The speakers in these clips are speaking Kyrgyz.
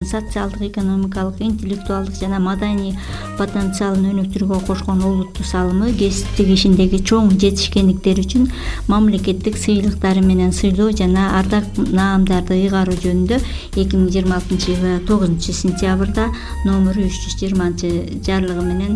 социалдык, экономикалык, интеллектуалдык жана маданий потенциалын өнүктүрүүгө кошкон олуттуу салымы кесиптик ишиндеги чоң жетишкендиктери үчүн мамлекеттик сыйлыктары менен сыйлоо жана ардак наамдарды ыйгаруу жөнүндө 2026-жылы 9-сентябрда номеру 320 жарлыгы менен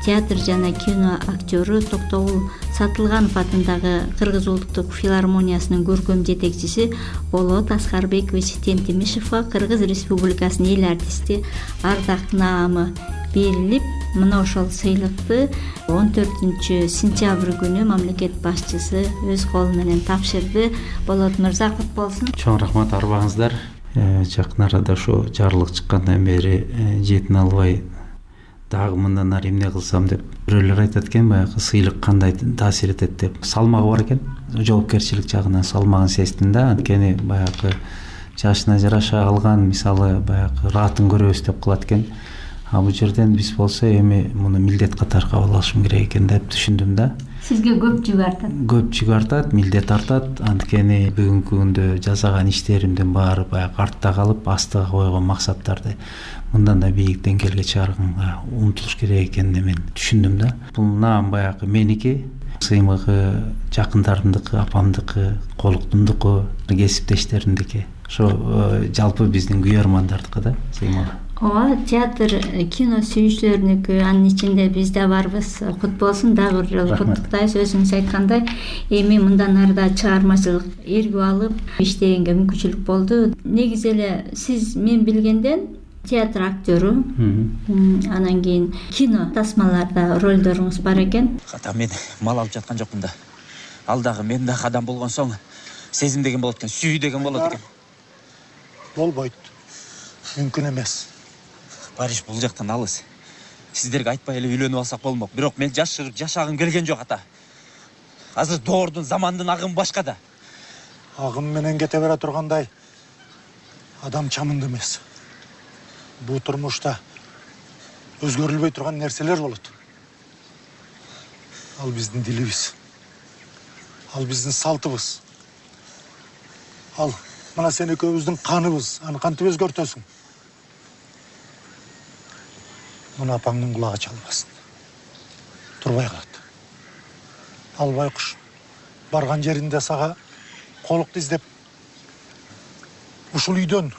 театр жана кино актёру Токтогул Сатылганов атындагы Кыргыз улуттук филармониясынын көркөм жетекчиси Болот Аскарбекович Темтимишевго Кыргыз Республикасынын эл артисти ардак наамы берилип, мына ошол сыйлыкты 14-сентябрь күнү мамлекет башчысы өз колу менен тапшырды. Болот мырза, кут болсун. Чоң рахмат, арбаңыздар. Жакын арада ошо жарлык чыккандан бери жетине албай дагы мындан ары эмне кылсам деп бирөөлөр айтат экен, баягы сыйлык кандай таасир этет деп. Салмагы бар экен, жоопкерчилик жагынан салмагын сездим да. Анткени баягы жашына жараша алган, мисалы баягы раатын көрөбүз деп кылат экен. А бул жерден биз болсо эми муну милдет катары кабыл алышым керек экен деп түшүндүм да. Сизге көп жүк артат. Көп жүк артат, милдет артат. Анткени бүгүнкү күндө жасаган иштеримдин баары баягы артта калып, астыга койгон максаттарды мындан да бийик деңгээлге чыгарганга умтулуш керек экенин мен түшүндүм да. Бул наам баягы меники, сыймыгы жакындарымдыкы, апамдыкы, колуктумдуку, кесиптештеримдики. Ошо жалпы биздин күйөрмандардыкы да сыймыгы. Ооба, театр, кино сүйүүчүлөрүнүкү, анын ичинде биз да барбыз. Кут болсун, дагы бир жолу куттуктайбыз. Өзүңүз айткандай, эми мындан арыда чыгармачылык эргүү алып иштегенге мүмкүнчүлүк болду. Негизи эле сиз мен билгенден театр актёру, анан кийин кино тасмаларда ролдоруңуз бар экен. Ката мен мал алып жаткан жокмун да. Ал дагы мен дагы адам болгон соң сезим деген болот экен, сүйүү деген болот экен. Болбойт. Мүмкүн эмес. Париж бул жактан алыс. Сиздерге айтпай эле үйлөнүп алсак болмок. Бирок мен жашагым келген жок ата. Азыр доордун, замандын агымы башка да. Агым менен кете бере тургандай адам чамынды эмес. Бул турмушта өзгөрүлбөй турган нерселер болот. Ал биздин дилибиз. Ал биздин салтыбыз. Ал мына сен экөөбүздүн каныбыз. Аны кантип өзгөртөсүң? Мына апаңдын кулагы чалбасын. Турбай калат. Ал байкуш барган жеринде сага колукту издеп ушул үйдөн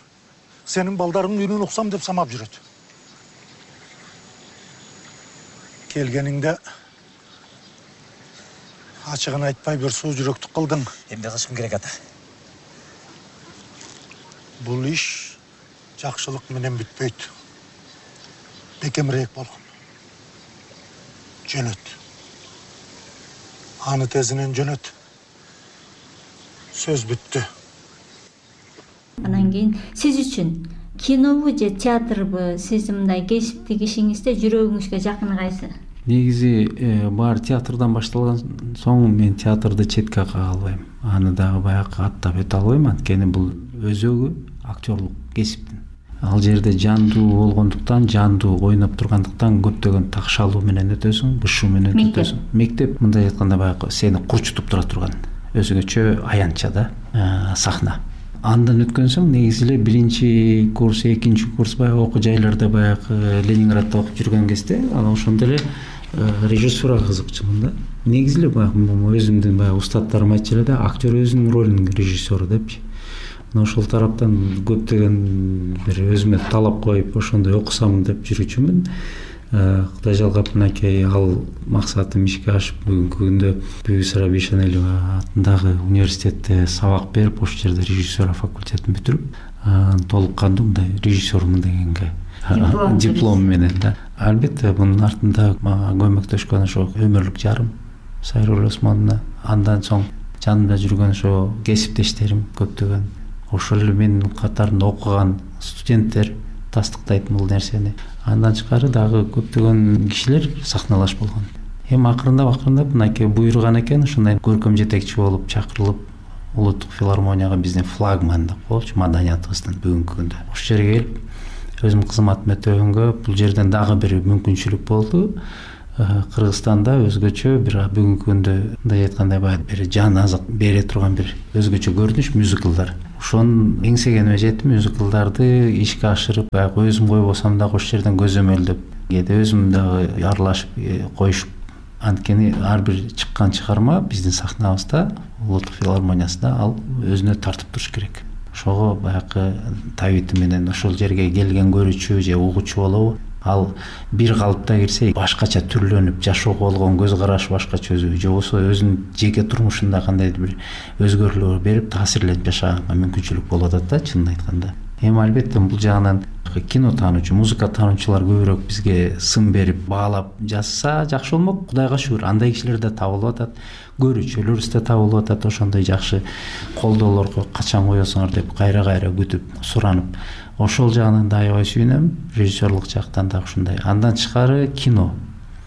сенин балдарыңдын үнүн уксам деп самап жүрөт. Келгениңде ачыгын айтпай бир суу жүрөктүк кылдың. Эмне кылышым керек ата? Бул иш жакшылык менен бүтпөйт. Бекемирээк болгон. Жөнөт. Аны тезинен жөнөт. Сөз бүттү. Анан кийин сиз үчүн кинобу же театрбы, сиздин мындай кесиптик ишиңизде жүрөгүңүзгө жакыны кайсы? Негизи баары театрдан башталган соң мен театрды четке кага албайм. Аны дагы баягы аттап өтө албайм, анткени бул өзөгү актерлук кесиптин. Ал жерде жандуу болгондуктан, жандуу ойноп тургандыктан көптөгөн такшалуу менен өтөсүң, бышуу менен өтөсүң. Мектеп мындай айтканда баягы сени курчутуп тура турган өзгөчө аянтча да сахна. Андан өткөн соң негизи эле биринчи курс, экинчи курс баягы окуу жайларда баягы Ленинградда окуп жүргөн кезде анан ошондо эле режиссурага кызыкчумун да. Негизи эле баягы өзүмдүн баягы устаттарым айтчу эле да, актер өзүнүн ролунун режиссеру депчи. Ошол тараптан көптөгөн бир өзүмө талап коюп ошондой окусам деп жүрүүчүмүн. Кудай жалгап мынакей ал максатым ишке ашып бүгүнкү күндө Бүбү Сара Бейшеналиева атындагы университетте сабак берип, ошол жерде режиссура факультетин бүтүрүп, толук кандуу мындай режиссермун дегенге диплом менен да. Албетте мунун артында көмөктөшкөн ошо өмүрлүк жарым Сайрул Осмоновна, андан соң жанымда жүргөн ошо кесиптештерим көптөгөн, ошол эле менин катарында окуган студенттер тастыктайт бул нерсени. Андан тышкары дагы көптөгөн кишилер сахналаш болгон. Эми акырындап мынакей буйруган экен, ушундай көркөм жетекчи болуп чакырылып, улуттук филармонияга биздин флагман деп коелучу маданиятыбыздын бүгүнкү күндө. Ошол жерге келип өзүмдүн кызматымды өтөгөнгө бул жерден дагы бир мүмкүнчүлүк болду. Кыргызстанда өзгөчө бир бүгүнкү күндө мындай айткандай баягы бир жан азык бере турган бир өзгөчө көрүнүш мюзиклдар. Ошону эңсегениме жетип мюзиклдарды ишке ашырып баягы өзүм койбосом дагы ошол жерден көзөмөлдөп кээде өзүм дагы аралашып коюшуп. Анткени ар бир чыккан чыгарма биздин сахнабызда улуттук филармониясында ал өзүнө тартып туруш керек. Ошого баягы табити менен ошол жерге келген көрүүчү же угуучу болобу ал бир калыпта кирсе башкача түрлөнүп жашоого болгон көз карашы башкача өзү же болбосо өзүнүн жеке турмушунда кандайдыр бир өзгөрүүлөр берип таасирленип жашаганга мүмкүнчүлүк болуп атат да чынын айтканда. Эми албетте бул жагынан кино таануучу, музыка таануучулар көбүрөөк бизге сын берип баалап жазса жакшы болмок. Кудайга шүгүр андай кишилер да табылып атат, көрүүчүлөрүбүз да табылып атат. Ошондой жакшы колдоолорго качан коесуңар деп кайра күтүп суранып, ошол жагынан да аябай сүйүнөм. Режиссерлук жактан да ушундай. Андан тышкары кино,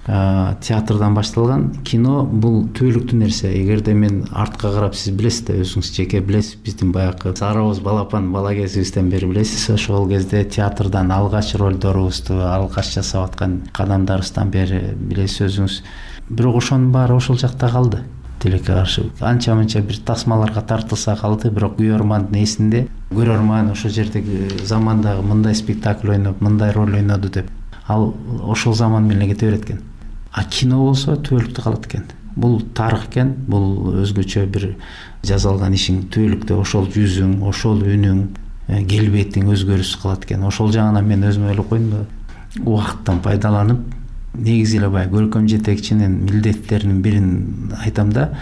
театрдан башталган кино бул түбөлүктүү нерсе. Эгерде мен артка карап, сиз билесиз да, өзүңүз жеке билесиз, биздин баягы сарыбыз балапан бала кезибизден бери билесиз, ошол кезде театрдан алгач ролдорубузду, алгач жасап аткан кадамдарыбыздан бери билесиз өзүңүз. Бирок ошонун баары ошол жакта калды. Тилекке каршы анча-мынча бир тасмаларга тартылса калды, бирок көрөрмандын эсинде көрөрман ошол жердеги замандагы мындай спектакль ойноп, мындай роль ойноду деп ал ошол заман менен кете берет экен. А кино болсо түбөлүктүү калат экен. Бул тарых экен, бул өзгөчө бир жазалган ишиң түбөлүктүү ошол жүзүң, ошол үнүң, келбетиң өзгөрүш кылат экен. Ошол жагынан мен өзүм ойлоп койдум да, убакыттан пайдаланып, негизи эле баягы көркөм жетекчинин милдеттеринин бирин айтам да,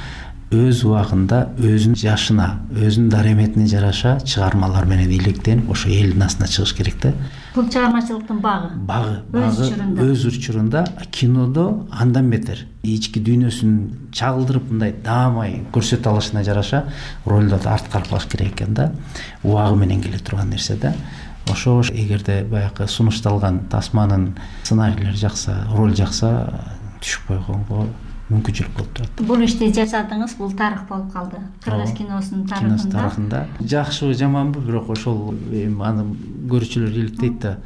өз убагында өзүнүн жашына, өзүнүн дареметине жараша чыгармалар менен иликтенип, ошо элдин астына чыгыш керек да. Бул чыгармачылыктын багы өз учурунда. Кинодо андан бетер ички дүйнөсүн чагылдырып мындай даамай көрсөтө алышына жараша ролдорду арткарып керек экен да. Убагы менен келе турган нерсе да. Ошо эгерде баягы сунушталган тасманын сценарийлери жакса, роль жакса, түшүп койгонго мүмкүнчүлүк болуп турат. Бул ишти жасадыңыз, бул тарых болуп калды. Кыргыз киносунун тарыхында. Жакшыбы, жаманбы, бирок ошол аны көрүүчүлөр иликтейт да.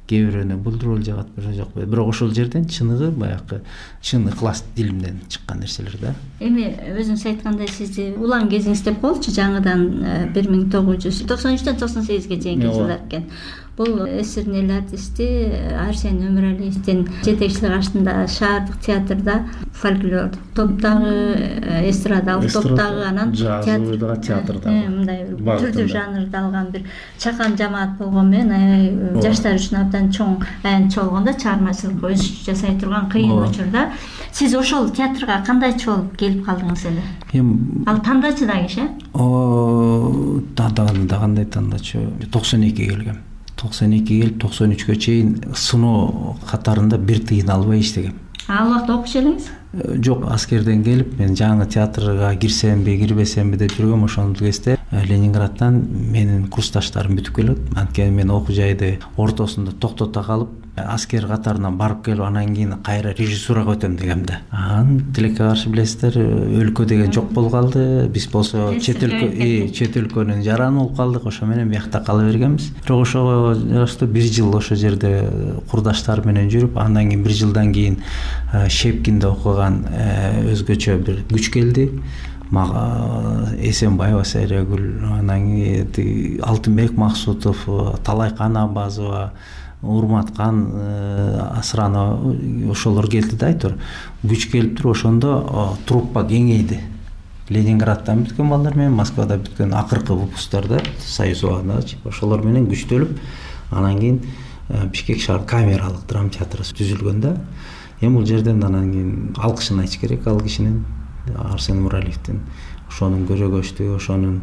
Кээ бирөөнө бул роль жагат, жок. Бирок ошол жерден чыныгы баягы чын ыклас дилимден чыккан нерселер да. Эми өзүңүз айткандай, сизди улан кезиңиз деп коелучу, жаңыдан 1993-төн 98-ге чейинки жылдар экен. Бул СССРдин артисти Арсен Өмүралиевдин жетекчилиги астында шаардык театрда фольклор топтогу, эстрадалык топтогу, анан театрда мындай түрдүү жанрда алган бир чакан жамаат болгон менен аябай жаштар үчүн абдан чоң аянтчы болгондо чыгармачылык өз жасай турган кыйын учурда сиз ошол театрга кандайчы болуп келип калдыңыз эле? Ал тандачы да киши? Кандай тандачы? 92-ге келгем. 92 келип 93-кө чейин сыноо катарында бир тыйын албай иштегем. Ал убакта окуучу элеңиз? Жок, аскерден келип мен жаңы театрга кирсемби, кирбесемби деп жүргөм. Ошол кезде Ленинградтан менин курсташтарым бүтүп келет. Анткени мен окуу жайды ортосунда токтото калып, аскер катарынан барып келип, анан кийин кайра режиссурага өтөм дегем да. Тилекке каршы билесиздер, өлкө деген жок болуп калды. Биз болсо чет өлкөнүн жараны болуп калдык. Ошо менен биякта кала бергенбиз. Бирок ошого жараштуу бир жыл ошо жерде курдаштар менен жүрүп, андан кийин бир жылдан кийин Шепкинде окуган өзгөчө бир күч келди. Мага Эсенбаева Сайрагүл, анан кийин Алтынбек Максутов, Талайкан Абазова, Урматкан Асранова, ошолор келди да, айтор. Күч келип туруп, ошондо труппа кеңейди. Ленинградтан бүткөн балдар менен, Москвада бүткөн акыркы выпусктордо, Союз убагында ошолор менен күчтөлүп, анан кийин Бишкек шаар камералык драма театры түзүлгөн да. Эми бул жерден анан кийин алкышын айтыш керек ал кишинин, Арсен Өмүралиевдин. Ошонун көрөгөчтүгү, ошонун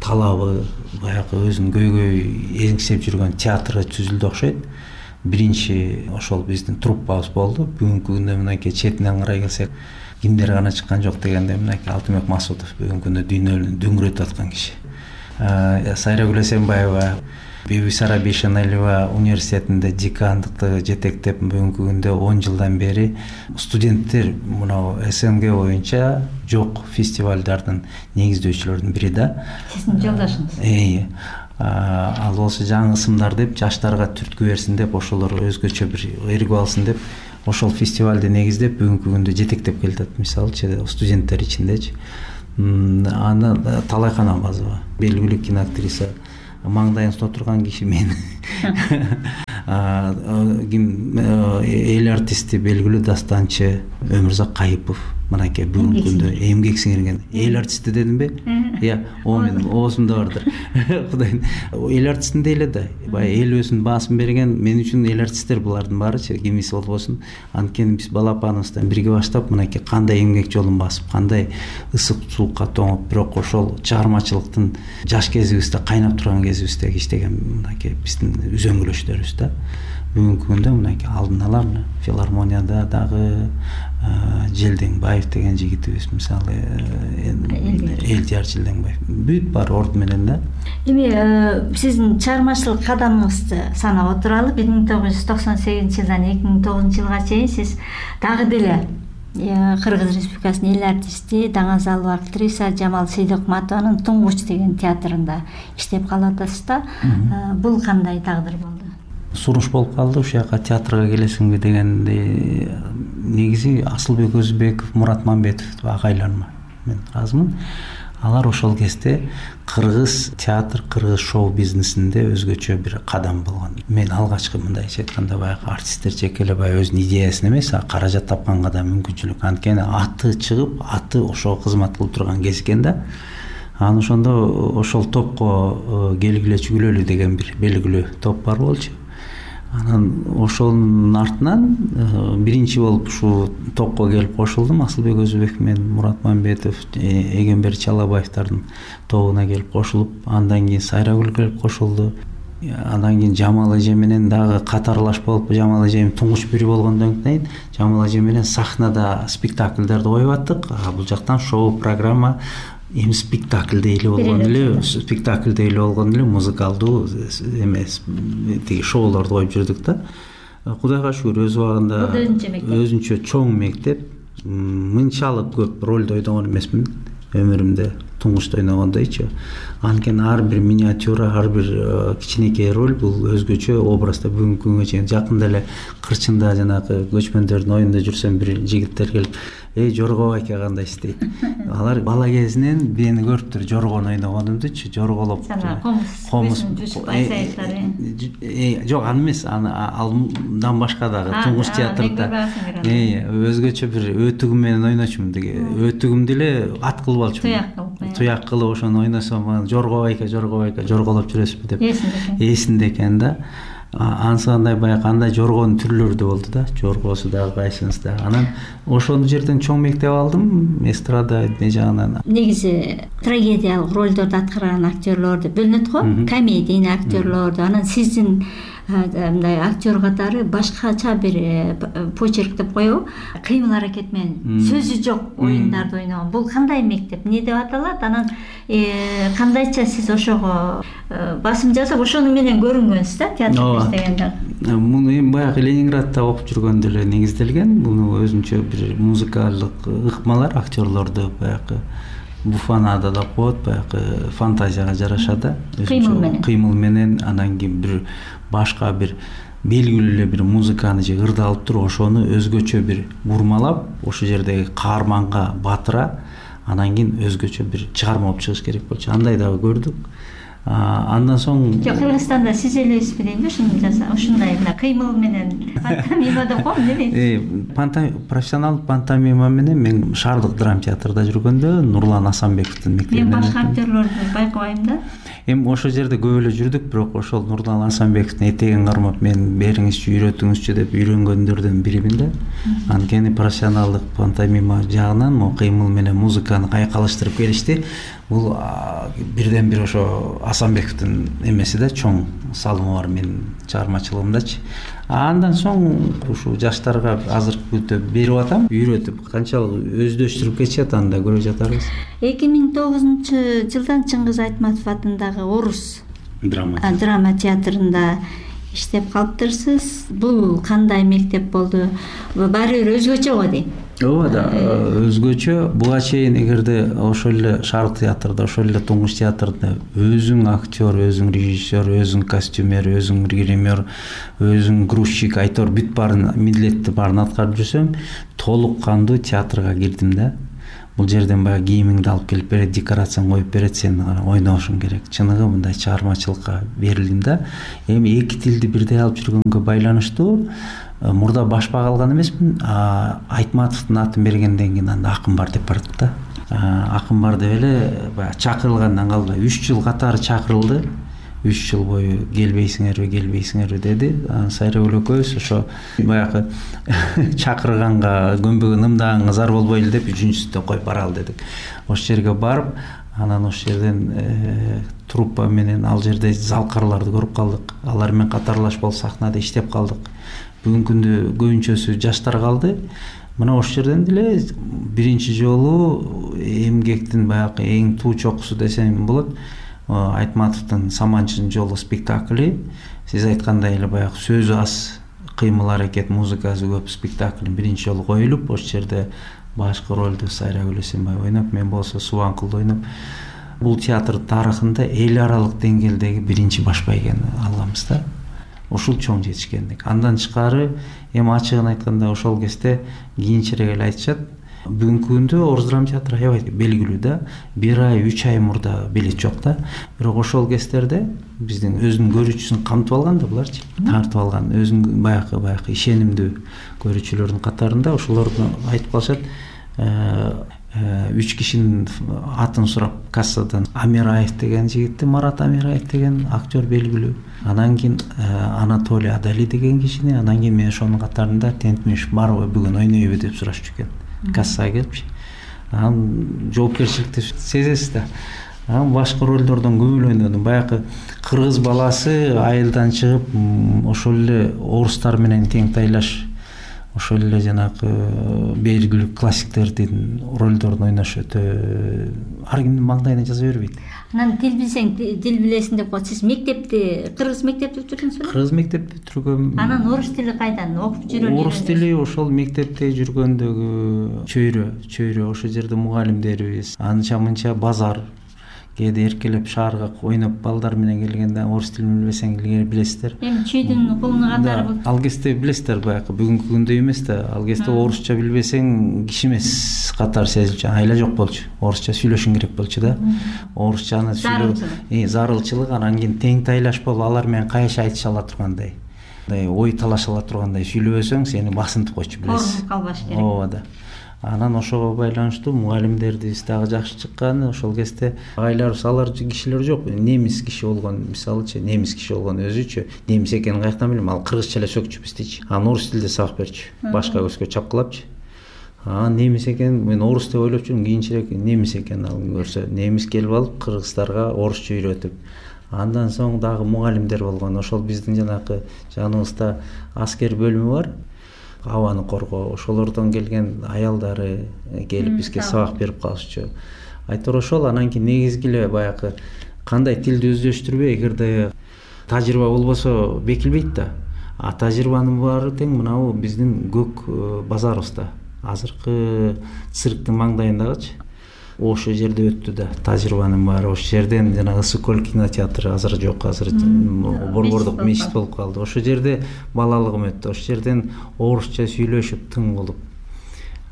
талабы, баягы өзүнүн көйгөй эңсеп жүргөн театры түзүлдү окшойт. Биринчи ошол биздин труппабыз болду. Бүгүнкү күндө мынакей четинен карай келсек, кимдер гана чыккан жок дегенде мынакей Алтынбек Максутов бүгүнкү күндө дүйнөнү дөңгөрөтүп аткан киши. Сайрагүл Эсенбаева, Бибисара Бейшеналиева университетинде декандыкты жетектеп, бүгүнкү күндө 10 жылдан бери студенттер мына СНГ боюнча жок фестивалдардын негиздөөчүлөрүнүн бири да. Сиздин жолдошуңуз. Ал болсо жаңы ысымдар деп, жаштарга түрткү берсин деп, ошолор өзгөчө бир ыргып алсын деп ошол фестивалды негиздеп бүгүнкү күндө жетектеп келатат. Мисалычы студенттер ичиндечи аны Талайкан Абазова, белгилүү киноактриса, маңдайыңызда отурган киши мен. Эл артисти, белгилүү дастанчы Өмүрзак Кайыпов, мынакей бүгүнкү күндө эмгек сиңирген. Эл артисти дедимби? О менин оозумда бардыр. Кудайым, эл артистинде эле да, баягы эл өзүнүн баасын берген. Мен үчүн эл артисттер булардын баарычы, кимиси болбосун. Анткени биз балапаныбыздан бирге баштап, мынакей кандай эмгек жолун басып, кандай ысык суукка тоңуп, бирок ошол чыгармачылыктын жаш кезибизде, кайнап турган кезибизде иштеген мынакей биздин үзөңгүлөштөрүбүз да. Бүгүнкү күндө мынакей алдын ала филармонияда дагы Желдеңбаев деген жигитибиз, мисалы Элдияр Желдеңбаев бүт бар орду менен да. Эми сиздин чыгармачылык кадамыңызды санап отуралы. 1998-жылдан 2009-жылга чейин сиз дагы деле Кыргыз Республикасынын эл артисти, даңазалуу актриса Жамал Сейдокматованын Туңгуч деген театрында иштеп калатсыз да. Бул кандай тагдыр болду? Суруш болуп калды ушул жака театрга келесиңби дегенде, негизи Асылбек Өзбеков, Мурат Мамбетов агайларым мен ыраазымын. Алар ошол кезде кыргыз театр, кыргыз шоу бизнесинде өзгөчө бир кадам болгон. Мен алгачкы мындайча айтканда баягы артисттер жеке эле баягы өзүнүн идеясын эмес, каражат тапканга да мүмкүнчүлүк. Анткени аты чыгып, аты ошого кызмат кылып турган кез экен да. Анан ошондо ошол топко келгиле чүгүлөлү деген бир белгилүү топ бар болчу. Анан ошонун артынан биринчи болуп ушул топко келип кошулдум. Асылбек Өзбеков менен Мурат Мамбетов, Эгембер Чалабаевдардын тобуна келип кошулуп, андан кийин Сайрагүл келип кошулду. Андан кийин Жамал эже менен дагы катарлаш болуп, Жамал эжем туңгуч бири болгондон кийин Жамал эже менен сахнада спектакльдерди коюп аттык. Бул жактан шоу программа эми спектакльдей эле болгон эле, спектакльдей эле болгон эле музыкалдуу эмес, тиги шоулорду коюп жүрдүк да. Кудайга шүгүр өз убагында өзүнчө чоң мектеп, мынчалык көп ролду ойногон эмесмин өмүрүмдө туңгучта ойногондойчу. Анткени ар бир миниатюра, ар бир кичинекей роль бул өзгөчө образда. Бүгүнкү күнгө чейин жакында эле Кырчында жанагы көчмөндөрдүн оюнда жүрсөм, бир жигиттер келип, Жорго байке кандай истейт. Алар бала кезинен мени көрүптүр жоргону ойногонумдучу, жорголоп. Комуз жок, аны эмес, андан башка дагы Туңгуч театрында өзгөчө бир өтүгүм менен ойночумун деге. Өтүгүмдү эле ат кылып алчумун. Туяк кылып ошону ойносом, Жорго байке жорголоп жүрөсүзбү деп эсинде экен да. Ансыгандай баягы кандай жоргонун түрлөрү да болду да, жоргосу дагы кайсынысы да. Анан ошол жерден чоң мектеп алдым, эстрада эмне жагынан. Негизи трагедиялык ролдорду аткарган актерлорду бөлүнөт го, комедийный актерлорду. Анан сиздин мындай актер катары башкача бир почерк деп коебу, кыймыл аракет менен сөзү жок оюндарды ойногон. Бул кандай мектеп, эмне деп аталат? Анан кандайча сиз ошого басым жасап ошону менен көрүнгөнсүз да театрда иштегенде? Муну эми баягы Ленинградта окуп жүргөндө эле негизделген. Муну өзүнчө бир музыкалдык ыкмалар актерлорду баягы буфанада да коет, баягы фантазияга жараша да. Кыймыл менен, анан кийин бир башка бир белгилүү эле бир музыканы же ырды алып туруп, ошону өзгөчө бир бурмалап, ошол жердеги каарманга батыра, анан кийин өзгөчө бир чыгарма болуп чыгыш керек болчу. Андай дагы көрдүк. Андан соң Кыргызстанда сиз элесизби деймби ушуну жаса, ушундай мына кыймыл менен пантомима деп коем, эмне? Профессионалдык пантомима менен мен Шаардык драма театрда жүргөндө Нурлан Асанбековдун мектебинен. Мен башка актерлорду байкабайм да. Эми ошол жерде көп эле жүрдүк, бирок ошол Нурлан Асанбековдун этегин кармап мен бериңизчи, үйрөтүңүзчү деп үйрөнгөндөрдөн биримин да. Анткени профессионалдык пантомима жагынан могу кыймыл менен музыканы кайкалыштырып келишти. Бул бирден бир ошо Асанбековдун эмеси да, чоң салымы бар менин чыгармачылыгымдачы. Андан соң ушул жаштарга азыркы күндө берип атам, үйрөтүп канчалык өздөштүрүп кетишет, аны да көрүп жатарбыз. 2009-жылдан Чыңгыз Айтматов атындагы Орус драма театрында иштеп калыптырсыз. Бул кандай мектеп болду? Баары бир өзгөчө го дейм. ооба да, өзгөчө. Буга чейин эгерде ошол эле Шарык театрда, ошол эле Туңгуч театрда өзүң актер, өзүң режиссер, өзүң костюмер, өзүң гример, өзүң грузчик, айтор бүт баарын милдетти баарын аткарып жүрсөм, толук кандуу театрга кирдим да. Бул жерден баягы кийимиңди алып келип берет, декорацияны коюп берет, сен ойношуң керек. Чыныгы мындай чыгармачылыкка берилдим да. Эми эки тилди бирдей алып жүргөнгө байланыштуу мурда башпак алган эмесмин. Айтматовдун атын бергенден кийин анда акын бар деп бардык да. Акын бар деп эле баягы чакырылгандан калбай 3 жыл катары чакырылды. 3 жыл бою келбейсиңерби деди. Сайрагүл экөөбүз ошо баягы чакырганга көнбөгөн ымдаган зар болбойлу деп 3-сүндө коюп баралы дедик. Ошол жерге барып, анан ошол жерден труппа менен ал жерде залкарларды көрүп калдык. Алар менен катарлаш болуп сахнада иштеп калдык. Бүгүнкү күндө көбүнчөсү жаштар калды. Мына ошол жерден деле биринчи жолу эмгектин баягы эң туу чокусу десем болот. Айтматовдун Саманчынын жолу спектакли. Сиз айткандай эле баягы сөзү аз, кыймыл аракет, музыкасы көп спектакль биринчи жолу коюлуп, ошол жерде башкы ролду Сайрагүл Эсенбаева ойноп, мен болсо Субанкулду ойноп. Бул театр тарыхында эл аралык деңгээлдеги биринчи баш байгени алганбыз да. Ушул чоң жетишкендик. Андан тышкары эми ачыгын айтканда ошол кезде кийинчерээк эле айтышат. Бүгүнкү күндө Орус драма театры аябай белгилүү да. 1 ай, 3 ай мурда билет жок да. Бирок ошол кездерде биздин өзүнүн көрүүчүсүн камтып алган да буларчы. Тартып алган өзүнүн баягы ишенимдүү көрүүчүлөрдүн катарында ошолорду айтып калышат. 3 кишинин атын сурап кассадан Амираев деген жигитти, Марат Амираев деген актер белгилүү. Анан кийин Анатолий Адали деген кишини, анан кийин мен ошонун катарында Тентмиш барбы бүгүн ойнойбу деп сурашчу экен. Кассага келипчи. Анан жоопкерчиликти сезесиз да. Анан башка ролдордон көбүлө ойнодум. Баягы кыргыз баласы айылдан чыгып, ошол эле орустар менен тең тайлаш, ошол эле жанагы белгилүү классиктердин ролдорун ойнош өтө ар кимдин маңдайына жаза бербейт. Анан тил билсең тил билесиң деп коет. Сиз мектепти кыргыз мектепте бүтүрдүңүзбү? Кыргыз мектепти бүтүргөм. Анан орус тили кайдан окуп жүргөн? Орус тили ошол мектепте жүргөндөгү чөйрө ошол жерде мугалимдерибиз, анча-мынча базар кээде эркелеп шаарга ойноп балдар менен келгенде орус тилин билбесең илгери билесиздер. Эми чүйдүн кулуну катары бул. Ал кезде билесиздер баягы бүгүнкү күндөй эмес да. Ал кезде орусча билбесең киши эмес катары сезилчү. Айла жок болчу. Орусча сүйлөшүң керек болчу да. Орусчаны сүйлөө зарылчылык, анан кийин тең тайлаш болуп алар менен кайша айтыша ала тургандай. Ой талаша ала тургандай сүйлөбөсөң сени басынтып койчу билесиз. Калбаш керек. Ооба да. Анан ошого байланыштуу мугалимдерибиз дагы жакшы чыккан. Ошол кезде агайларыбыз алар кишилер жок. Немис киши болгон, мисалычы, немис киши болгон өзүчө. Немис экенин каяктан билем? Ал кыргызча эле сөкчү биздичи. Анан орус тилде сабак берчү. Башка көзгө чапкылапчы. Немис экен, мен орус деп ойлоп жүрдүм, кийинчерээк немис экен ал көрсө. Немис келип алып кыргыздарга орусча үйрөтүп. Андан соң дагы мугалимдер болгон. Ошол биздин жанагы жаныбызда аскер бөлүмү бар. Абаны коргоо, ошолордон келген аялдары келип бизге сабак берип калышчу. Айтор ошол. Анан кийин негизги эле баягы кандай тилди өздөштүрбөй, эгерде тажрыйба болбосо бекилбейт да. Тажрыйбанын баары тең мынабу биздин көк базарыбызда. Азыркы цирктин маңдайындагычы. Ошол жерде өттү да тажрыйбанын баары. Ошол жерден жана Ысыкөл кинотеатры азыр жок, азыр борбордук мечит болуп калды. Ошол жерде балалыгым өттү. Ошол жерден орусча сүйлөшүп тың болуп.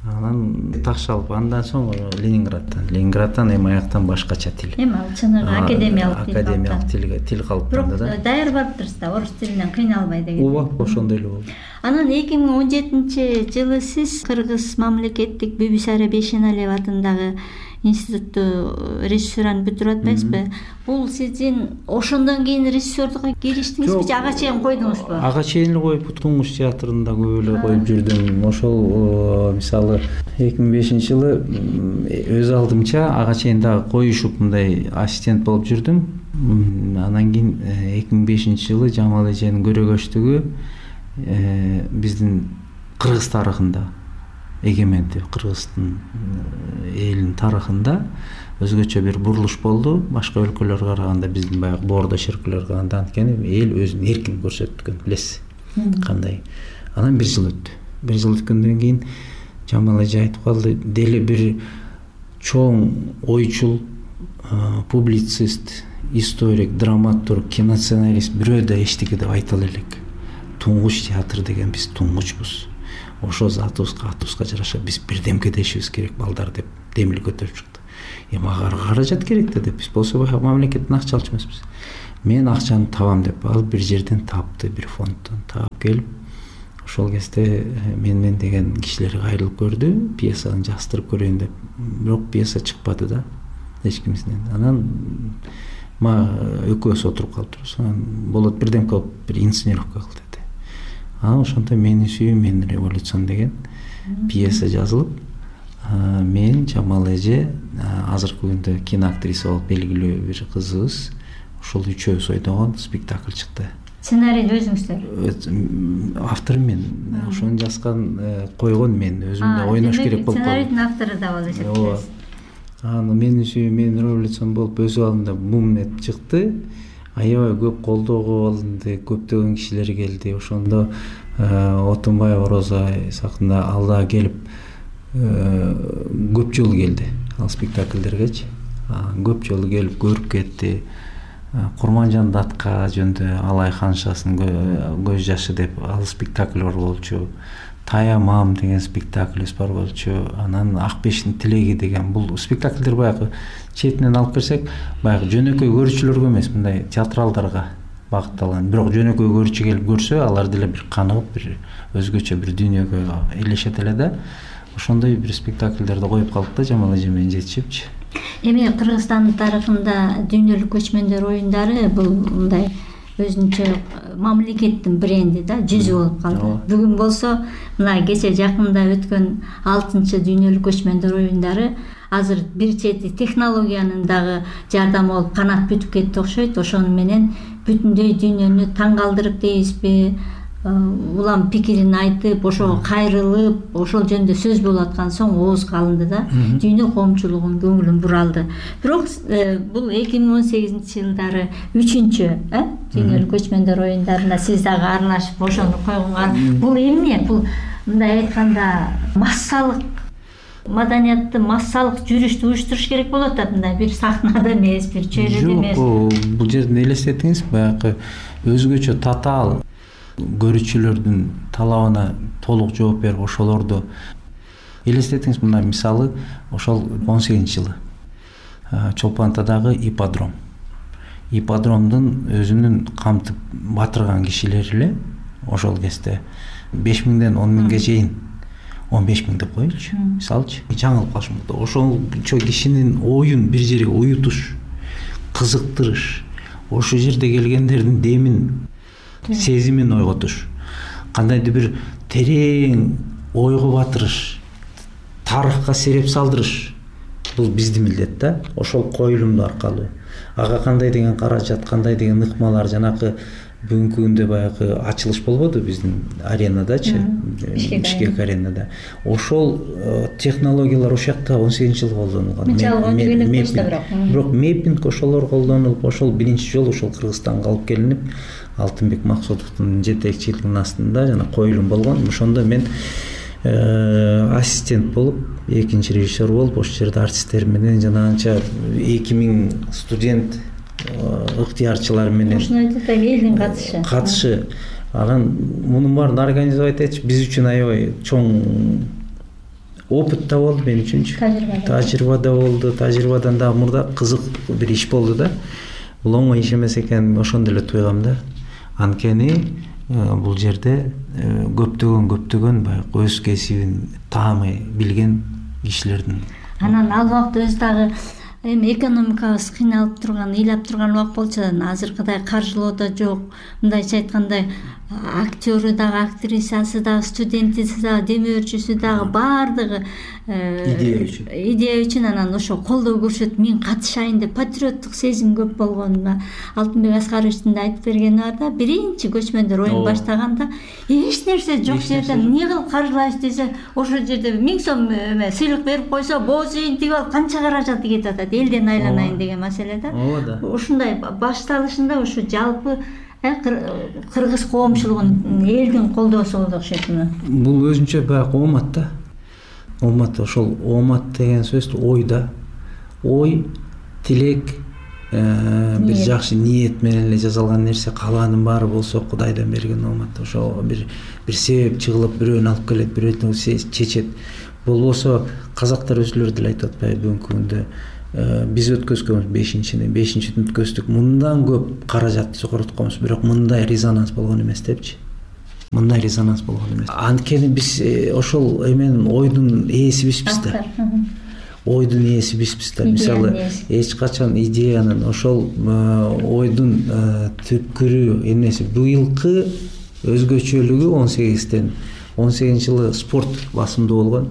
Анан таш алып, андан соң Ленинградтан эми аяктан башкача тил. Эми ал чыныгы академиялык тил калыптанды да. Бирок даяр барыптырсыз да, орус тилинен кыйналбай деген. Ооба, ошондой эле болду. Анан 2017-жылы сиз Кыргыз мамлекеттик Бибисара Бейшеналиев атындагы институтту режиссураны бүтүрүп атпайсызбы? Бул сиздин ошондон кийин режиссерлукка кириштиңизби же ага чейин койдуңузбу? Ага чейин эле коюп, Туңгуч театрында көп эле коюп жүрдүм. Ошол мисалы 2005-жылы өз алдымча ага чейин дагы коюшуп мындай ассистент болуп жүрдүм. Анан кийин 2005-жылы Жамал эженин көрөгөчтүгү биздин Кыргыз тарыхында, эгемендүү Кыргыздын элинин тарыхында өзгөчө бир бурулуш болду. Башка өлкөлөргө караганда биздин баягы боордо шеркөлөргө караганда анткени эл өзүн эркин көрсөткөн, билесиз кандай. Анан 1 жыл өттү. 1 жыл өткөндөн кийин Жамал эже айтып калды, дели бир чоң ойчул, публицист, историк, драматург, киносценарист бирөө да эчтеке деп айта элек. Туңгуч театр деген биз туңгучпуз. Ошо атыбызга жараша биз бирдемке дешибиз керек балдар деп демил көтөрүп чыкты. Мага каражат керек да деп, биз болсо баягы мамлекеттен акча алчу эмеспиз. Мен акчаны табам деп ал бир жерден тапты, бир фонддон таап келип, ошол кезде мен деген кишилер кайрылып көрдү, пьесаны жастырып көрөйүн деп. Бирок пьеса чыкпады да эч кимисинен. Анан экөөбүз отуруп калыптырбыз. Болот бирдемке кылып бир инсценировка кыл деди. Анан ошондо Мени сүйүү, мен революцион деген пьеса жазылып, мен Жамал эже, азыркы күндө киноактриса болуп белгилүү бир кызыбыз, ошол үчөөбүз ойногон спектакль чыкты. Сценарийди өзүңүздөр? Автору мен. Ошону жазган, койгон мен. Өзүм да ойнош керек болуп калды. Сценарийдин автору да болуп эсептейсиз. Аны Мени сүйүү, мен революцион болуп өз абалында бум эт чыкты. Аябай көп колдоого алынды, көптөгөн кишилер келди. Ошондо Отунбаева Роза сакында ал да келип көп жолу келди ал спектакльдергечи. Көп жолу келип көрүп кетти. Курманжан Датка жөнүндө Алай ханшасынын көз жашы деп ал спектакль бар болчу. Таямам деген спектакль бар болчу. Анан Ак бештин тилеги деген бул спектакльдер баягы четинен алып келсек, баягы жөнөкөй көрүүчүлөргө эмес, мындай театралдарга багытталган. Бирок жөнөкөй көрүүчү келип көрсө, алар деле бир каныгып, бир өзгөчө бир дүйнөгө элешет эле да. Ошондой бир спектакльдерди коюп калдык да Жамал эже менен жетишипчи. Эми Кыргызстандын тарыхында дүйнөлүк көчмөндөр оюндары бул мындай өзүнчө мамлекеттин бренди да, жүзү болуп калды. Бүгүн болсо мына кече жакында өткөн 6-чы дүйнөлүк көчмөндөр оюндары азыр бир чети технологиянын дагы жардамы болуп канат бүтүп кетти окшойт. Ошону менен бүтүндөй дүйнөнү таң калтырып дейбизби, улам пикирин айтып, ошого кайрылып, ошол жөнүндө сөз болуп аткан соң оозго алынды да, дүйнө коомчулугунун көңүлүн буралды. Бирок бул 2018-жылдары 3-чү дүйнөлүк көчмөндөр оюндарына сиз дагы аралашып ошону койгонго, бул эмне? Бул мындай айтканда массалык маданиятты, массалык жүрүштү уюштуруш керек болот да, мындай бир сахнада эмес, бир чөйрөдө эмес. Жок, бул жерден элестетиңиз, баягы өзгөчө татаал көрүүчүлөрдүн талабына толук жооп берип, ошолорду элестетиңиз. Мына мисалы, ошол 18-жылы Чолпон Атадагы ипподром. Ипподромдун өзүнүн камтып батырган кишилери эле ошол кезде 5000ден 10.000ге чейин, 15.000 деп коелучу, мисалчы, жаңылып калышым. Ошончо кишинин оюн бир жерге уютуш, кызыктырыш, ошол жерде келгендердин демин, сезимин ойготуш, кандайдыр бир терең ойго батырыш, тарыхка сереп салдырыш, бул биздин милдет да. Ошол коюлумду аркылуу ага кандай деген каражат, кандай деген ыкмалар, жанакы бүгүнкү күндө баягы ачылыш болбоду биздин аренадачы, Бишкек аренада. Ошол технологиялар ошол жакта 18-жылы колдонулган. Бирок меппинг ошолор колдонулуп, ошол биринчи жолу ошол Кыргызстанга алып келинип, Алтынбек Максутовдун жетекчилигинин астында жана коюлум болгон. Ошондо мен ассистент болуп, экинчи режиссер болуп, ошол жерде артисттер менен жанагынча 2000 студент ыктыярчылар менен элдин катышы. Анан мунун баарын организовать этиш биз үчүн аябай чоң опыт да болду, мен үчүнчү. Тажрыйба да болду. Тажрыйбадан дагы мурда кызык бир иш болду да. Бул оңой иш эмес экенин ошондо эле туйгам да. Анткени бул жерде көптөгөн баягы өз кесибин таамай билген кишилердин. Анан ал убакта өзү дагы эми экономикабыз кыйналып турган, ыйлап турган убак болчу, азыркыдай каржылоо да жок. Мындайча айтканда актёру дагы, актрисасы дагы, студентиси дагы, демөөрчүсү дагы баардыгы идея үчүн анан ошо колдоо көрсөтүп, мен катышайын деп патриоттук сезим көп болгон. Алтынбек Аскаровичтин да айтып бергени бар да, биринчи көчмөндөр оюн баштаганда эч нерсе жок жерде эмне кылып каржылайбыз десе, ошол жерде 1000 сом сыйлык берип койсо, боз үйүн тигип алып канча каражаты кетип атат, элден айланайын деген маселе да. Ушундай башталышында ушу жалпы кыргыз коомчулугунун элдин колдоосу болду окшойт. Бул өзүнчө баягы коомат да. умат ошол умат деген сөз ой да, ой, тилек, бир жакшы ниет менен эле жасалган нерсе, калгаанын баары болсо Кудайдан берген умат. Ошо бир себеп чыгылып бирөөнү алып келет, бирөөнү чечет. Болбосо казактар өзүлөрү деле айтып атпайбы бүгүнкү күндө биз өткөзгөнбүз 5-ши өткөздүк, мындан көп каражат жогоротконбуз, бирок мындай резонанс болгон эмес депчи. Мындай резонанс болгон эмес. Анткени биз ошол эменин ойдун ээсибизбиз да. Ойдун ээсибизбиз да. Мисалы, эч качан идеянын, ошол ойдун түпкүрү эмнеси? Быйылкы өзгөчөлүгү 18-жылы спорт басымдуу болгон,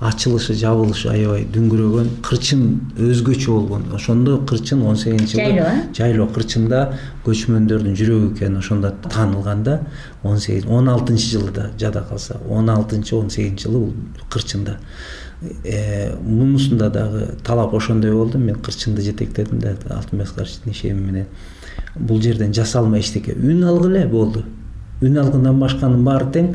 ачылышы, жабылышы аябай дүңгүрөгөн, кырчын өзгөчө болгон. Ошондо кырчын 18-жылы жайлоо кырчында көчмөндөрдүн жүрөгү экени ошондо таанылганда 16-жылы да жада калса, 16-18-жылы бул кырчында. Мунусунда дагы талап ошондой болду. Мен кырчынды жетектедим да Алтынбек Карчиктин ишеми менен. Бул жерден жасалма эчтеке. Үн алгыла болду. Үн алгындан башканын баары тең.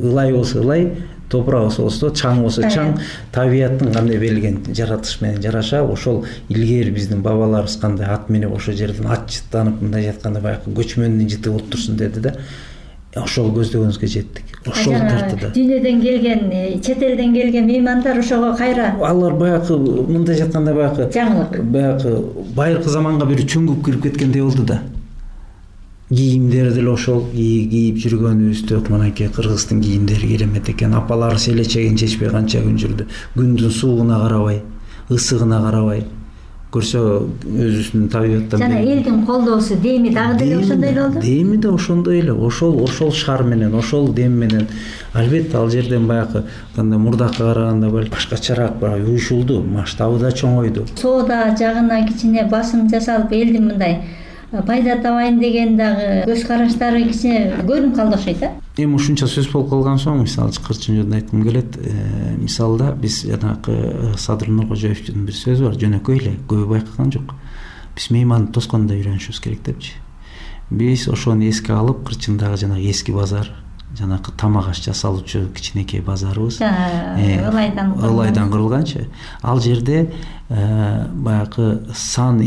Ылай болсо ылай, топурак болсо чаң болсо чаң, табияттын кандай берилген жаратылыш менен жараша, ошол илгери биздин бабаларыбыз кандай ат менеп ошол жерден ат жыттанып мындай жатканда баягы көчмөндүн жыты болуп турсун деди да. Ошол көздөгөнүбүзгө жеттик. Ошол тартыда. Дүйнөдөн келген, чет элден келген меймандар ошого кайра. Алар баягы мындай жатканда баягы жаңылык. Баягы байыркы заманга бир чөңгүп кирип кеткендей болду да. Кийимдери деле ошол кийип жүргөнүбүздө, мынакей кыргыздын кийимдери керемет экен. Апалар селечегин чечпей канча күн жүрдү. Күндүн суугуна карабай, ысыгына карабай. Көрсө өзүнүн табиғаттан жана элдин колдоосу, деми дагы деле ошондой эле болду. Деми да ошондой эле, ошол шар менен, ошол дем менен. Албетте ал жерден баягы кандай мурдакка караганда башкачараак бирок уюшулду, масштабы да чоңойду. Соода жагына кичине басым жасалып, элдин мындай пайда табайын деген дагы көз караштары кичине көрүнүп калды окшойт да. Эми ушунча сөз болуп калган соң, мисалы кырчын жөнүндө айткым келет. Мисалда биз жанагы Садыр Нуркожоевдун бир сөзү бар, жөнөкөй эле, көбү байкаган жок. Биз мейманды тоскондо үйрөнүшүбүз керек депчи. Биз ошону эске алып, кырчындагы жанагы эски базар, жанагы тамак аш жасалуучу кичинекей базарыбыз, ылайдан курулганчы. Ал жерде баягы сан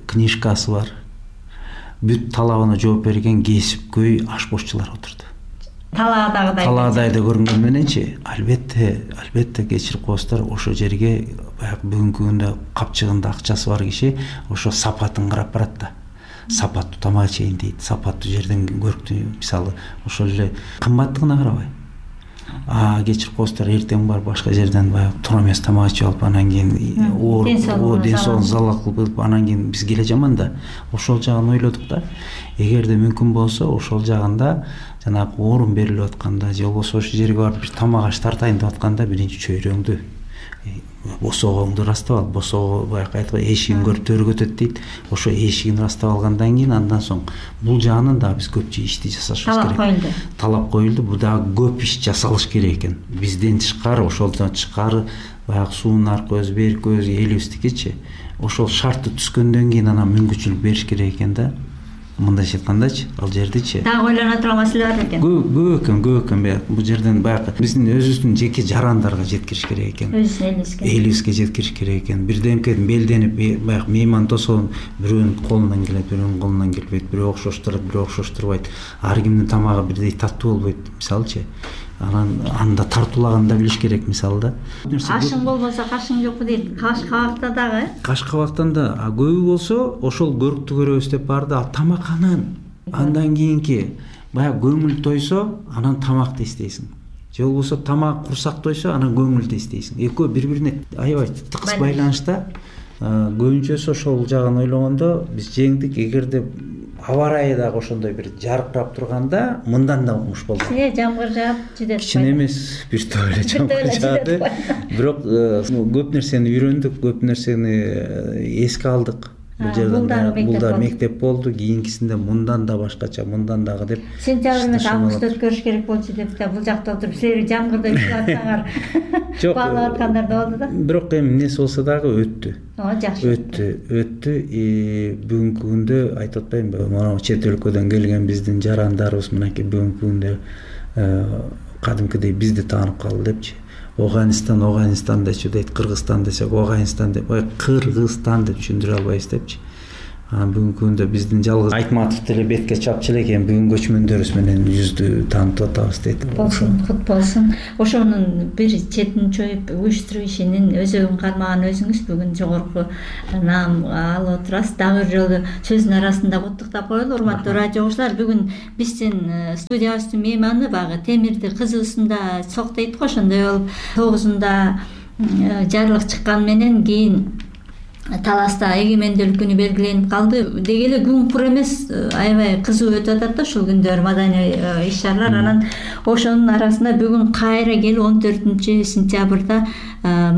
книжкасы бар. Бүт талабына жооп берген кесипкөй ашпозчулар отурду. Талаадайда көрүнгөн мененчи, албетте кечирип коесуздар, ошо жерге баягы бүгүнкү күндө капчыгында акчасы бар киши ошо сапатын карап барат да. Сапаттуу тамак ичейин дейт, сапаттуу жерден көрктү, мисалы ошол эле кымбаттыгына карабай. Кечирип коесуздар, эртең бар башка жерден баягы туура эмес тамак ичип алып, анан кийин ден соолугун залал кылып, анан кийин биз келе жаман да. Ошол жагын ойлодук да. Эгерде мүмкүн болсо, ошол жагында жанагы орун берилип атканда, же болбосо ошол жерге барып бир тамак аш тартайын деп атканда, биринчи чөйрөңдү, босогоңду ырастап ал. Босого баягы айткан эшигин көрүп төргө өтөт дейт. Ошо эшигин ырастап алгандан кийин андан соң бул жагынан дагы биз көпчү ишти жасашыбыз керек. Талап коюлду. Бул дагы көп иш жасалыш керек экен. Бизден тышкары, ошолдон тышкары баягы суунун көзү, бери көзү элибиздикичи. Ошол шарты түскөндөн кийин анан мүмкүнчүлүк бериш керек экен да. Мындайча айткандачы, ал жердичи дагы ойлоно турган маселе бар экен. Көп экен. Бул жерден баягы биздин өзүбүздүн жеке жарандарга жеткириш керек экен. Элибизге жеткириш керек экен. Бирдемкеден белденип, баягы мейман тосоон бирөөнүн колунан келет, бирөөнүн колунан келбейт, бирөө окшоштурат, бирөө окшоштурбайт. Ар кимдин тамагы бирдей таттуу болбойт, мисалычы. Анан анда тартуулаганды да билиш керек, мисалы да. Ашың болбосо кашың жокпу дейт. Каш-кабакта дагы. Каш-кабактан да көбү болсо ошол көрүктү көрөбүз деп барды. А тамак андан кийинки баягы көңүл тойсо, анан тамакты эстейсиң. Же болбосо тамак курсак тойсо, анан көңүлдү эстейсиң. Экөө бири-бирине аябай тыкыз байланышта. Көбүнчөсү ошол жагын ойлогондо биз жеңдик. Эгерде аба ырайы дагы ошондой бир жаркырап турганда, мындан да укмуш болду. Жамгыр жаап жүдөт. Кичине эмес, бир топ эле жамгыр жаады. Бирок көп нерсени үйрөндүк, көп нерсени эске алдык. Бул да мектеп болду. Кийинкисинде мындан да башкача, мындан дагы деп. Сентябрь менен августта өткөрүш керек болчу деп да бул жакта отуруп силер жамгырда үчүлатсаңар баалап аткандар да болду да. Бирок эми эмнеси болсо дагы өттү. Жакшы. Өттү. Бүгүнкү күндө айтып атпаймынбы, мына чет өлкөдөн келген биздин жарандарыбыз мынакей бүгүнкү күндө кадимкидей бизди таанып калды депчи. Афганистан дечи дейт, Кыргызстан десек Афганистан деп, Кыргызстан деп түшүндүрө албайбыз депчи. Анан бүгүнкү күндө биздин жалгыз Айтматов деле бетке чапчы экен, бүгүн көчмөндөрүбүз менен жүздү таанытып атабыз дейт. Болсун, кут болсун. Ошонун бир четин чоюп уюштуруу ишинин өзөгүн кармаган өзүңүз бүгүн жогорку наам алып отурасыз. Дагы бир жолу сөздүн арасында куттуктап коелу. Урматтуу радио угуучулар, бүгүн биздин студиябыздын мейманы багы Темирди кызыбысында сок дейт го, ошондой болуп 9-унда жарлык чыккан менен кийин таласта эгемендүүлүк күнү белгиленип калды. Деги эле күн кур эмес, аябай кызуу өтүп атат да ушул күндөр маданий иш-чаралар. Анан ошонун арасында бүгүн кайра келип 14-сентябрда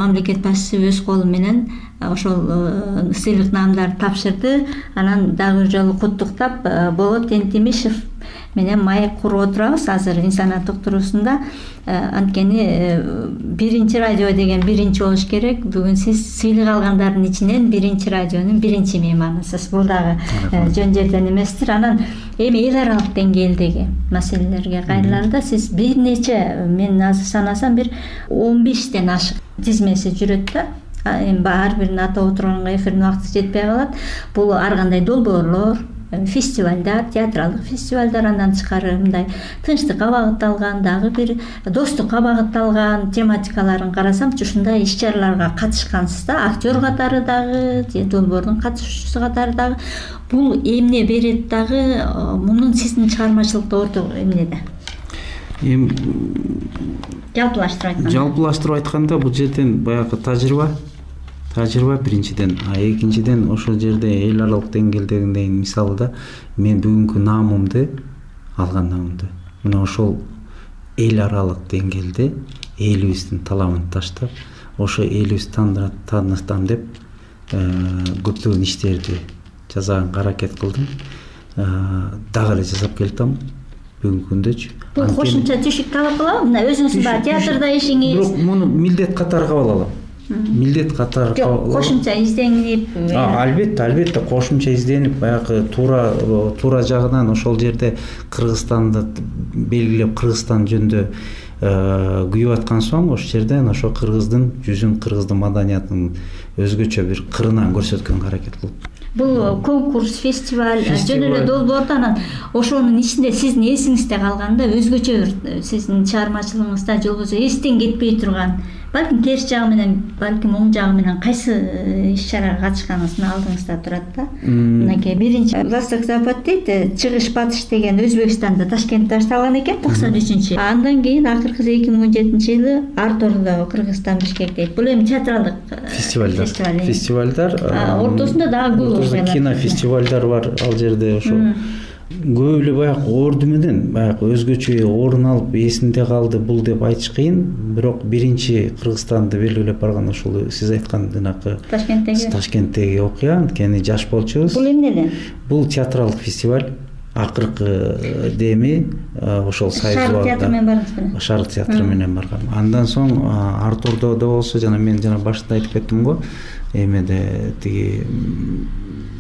мамлекет башчысы өз колу менен ошол сыйлык наамдарды тапшырды. Анан дагы бир жолу куттуктап, Болот Энтимишев менен маек куруп отурабыз азыр инсаният уктуруусунда. Анткени биринчи радио деген биринчи болуш керек. Бүгүн сиз сыйлык алгандардын ичинен биринчи радионун биринчи мейманысыз. Бул дагы жөн жерден эместир. Анан эми эл аралык деңгээлдеги маселелерге кайрылганда сиз бир нече, мен азыр санасам бир 15тен ашык тизмеси жүрөт да. Эми ар бирин атап отурганга эфирдин убакыты жетпей калат. Бул ар кандай долбоорлор, фестивалдар, театралдык фестивалдар, андан тышкары мындай тынчтыкка багытталган, дагы бир достукка багытталган тематикаларын карасамчы ушундай иш-чараларга катышкансыз да, актер катары дагы, же долбоордун катышуучусу катары дагы. Бул эмне берет дагы, мунун сиздин чыгармачылыкта орто эмнеде? Эми жалпылаштырып айтканда бул жерден баягы тажрыйба биринчиден, экинчиден ошол жерде эл аралык деңгээлдегидей, мисалы да мен бүгүнкү наамымды мына ошол эл аралык деңгээлде элибиздин талабын таштап, ошо элибизди таанытам деп көптөгөн иштерди жасаганга аракет кылдым. Дагы эле жасап келатам бүгүнкү күндөчү. Бул кошумча түшүк кабыл кылабы? Мына өзүңүздүн баягы театрда ишиңиз. Бирок муну милдет катары кабыл алам. Кошумча изденип. Албетте кошумча изденип, баягы туура жагынан ошол жерде Кыргызстанды белгилеп, Кыргызстан жөнүндө күйүп аткан соң, ошол жерден ошо кыргыздын жүзүн, кыргыздын маданиятын өзгөчө бир кырынан көрсөткөнгө аракет кылып. Бул конкурс, фестиваль, жөн эле долбоордо, анан ошонун ичинде сиздин эсиңизде калганда өзгөчө бир сиздин чыгармачылыгыңызда же болбосо эстен кетпей турган, балким терс жагы менен, балким оң жагы менен кайсы иш-чарага катышканыңыздын алдыңызда турат да. Мынакей биринчи Восток Запад дейт, чыгыш батыш деген Өзбекстанда, Ташкентте башталган экен 93. Андан кийин акыркысы 2017-жылы Артурдо, Кыргызстан, Бишкек дейт. Бул эми театралдык фестивалдар. Ортосунда дагы көп кинофестивалдар бар ал жерде. Ошо көп эле баягы орду менен баягы өзгөчө орун алып эсинде калды бул деп айтыш кыйын. Бирок биринчи Кыргызстанды белгилеп барган ушул сиз айткан жанакы Ташкенттеги окуя, анткени жаш болчубуз. Бул эмнеден? Бул театралдык фестиваль. Акыркы деми ошол Шаар театры менен баргансызбы? Шаар театры менен баргам. Андан соң Артурдо болсо, жана мен башында айтып кеттим го, эмеде тиги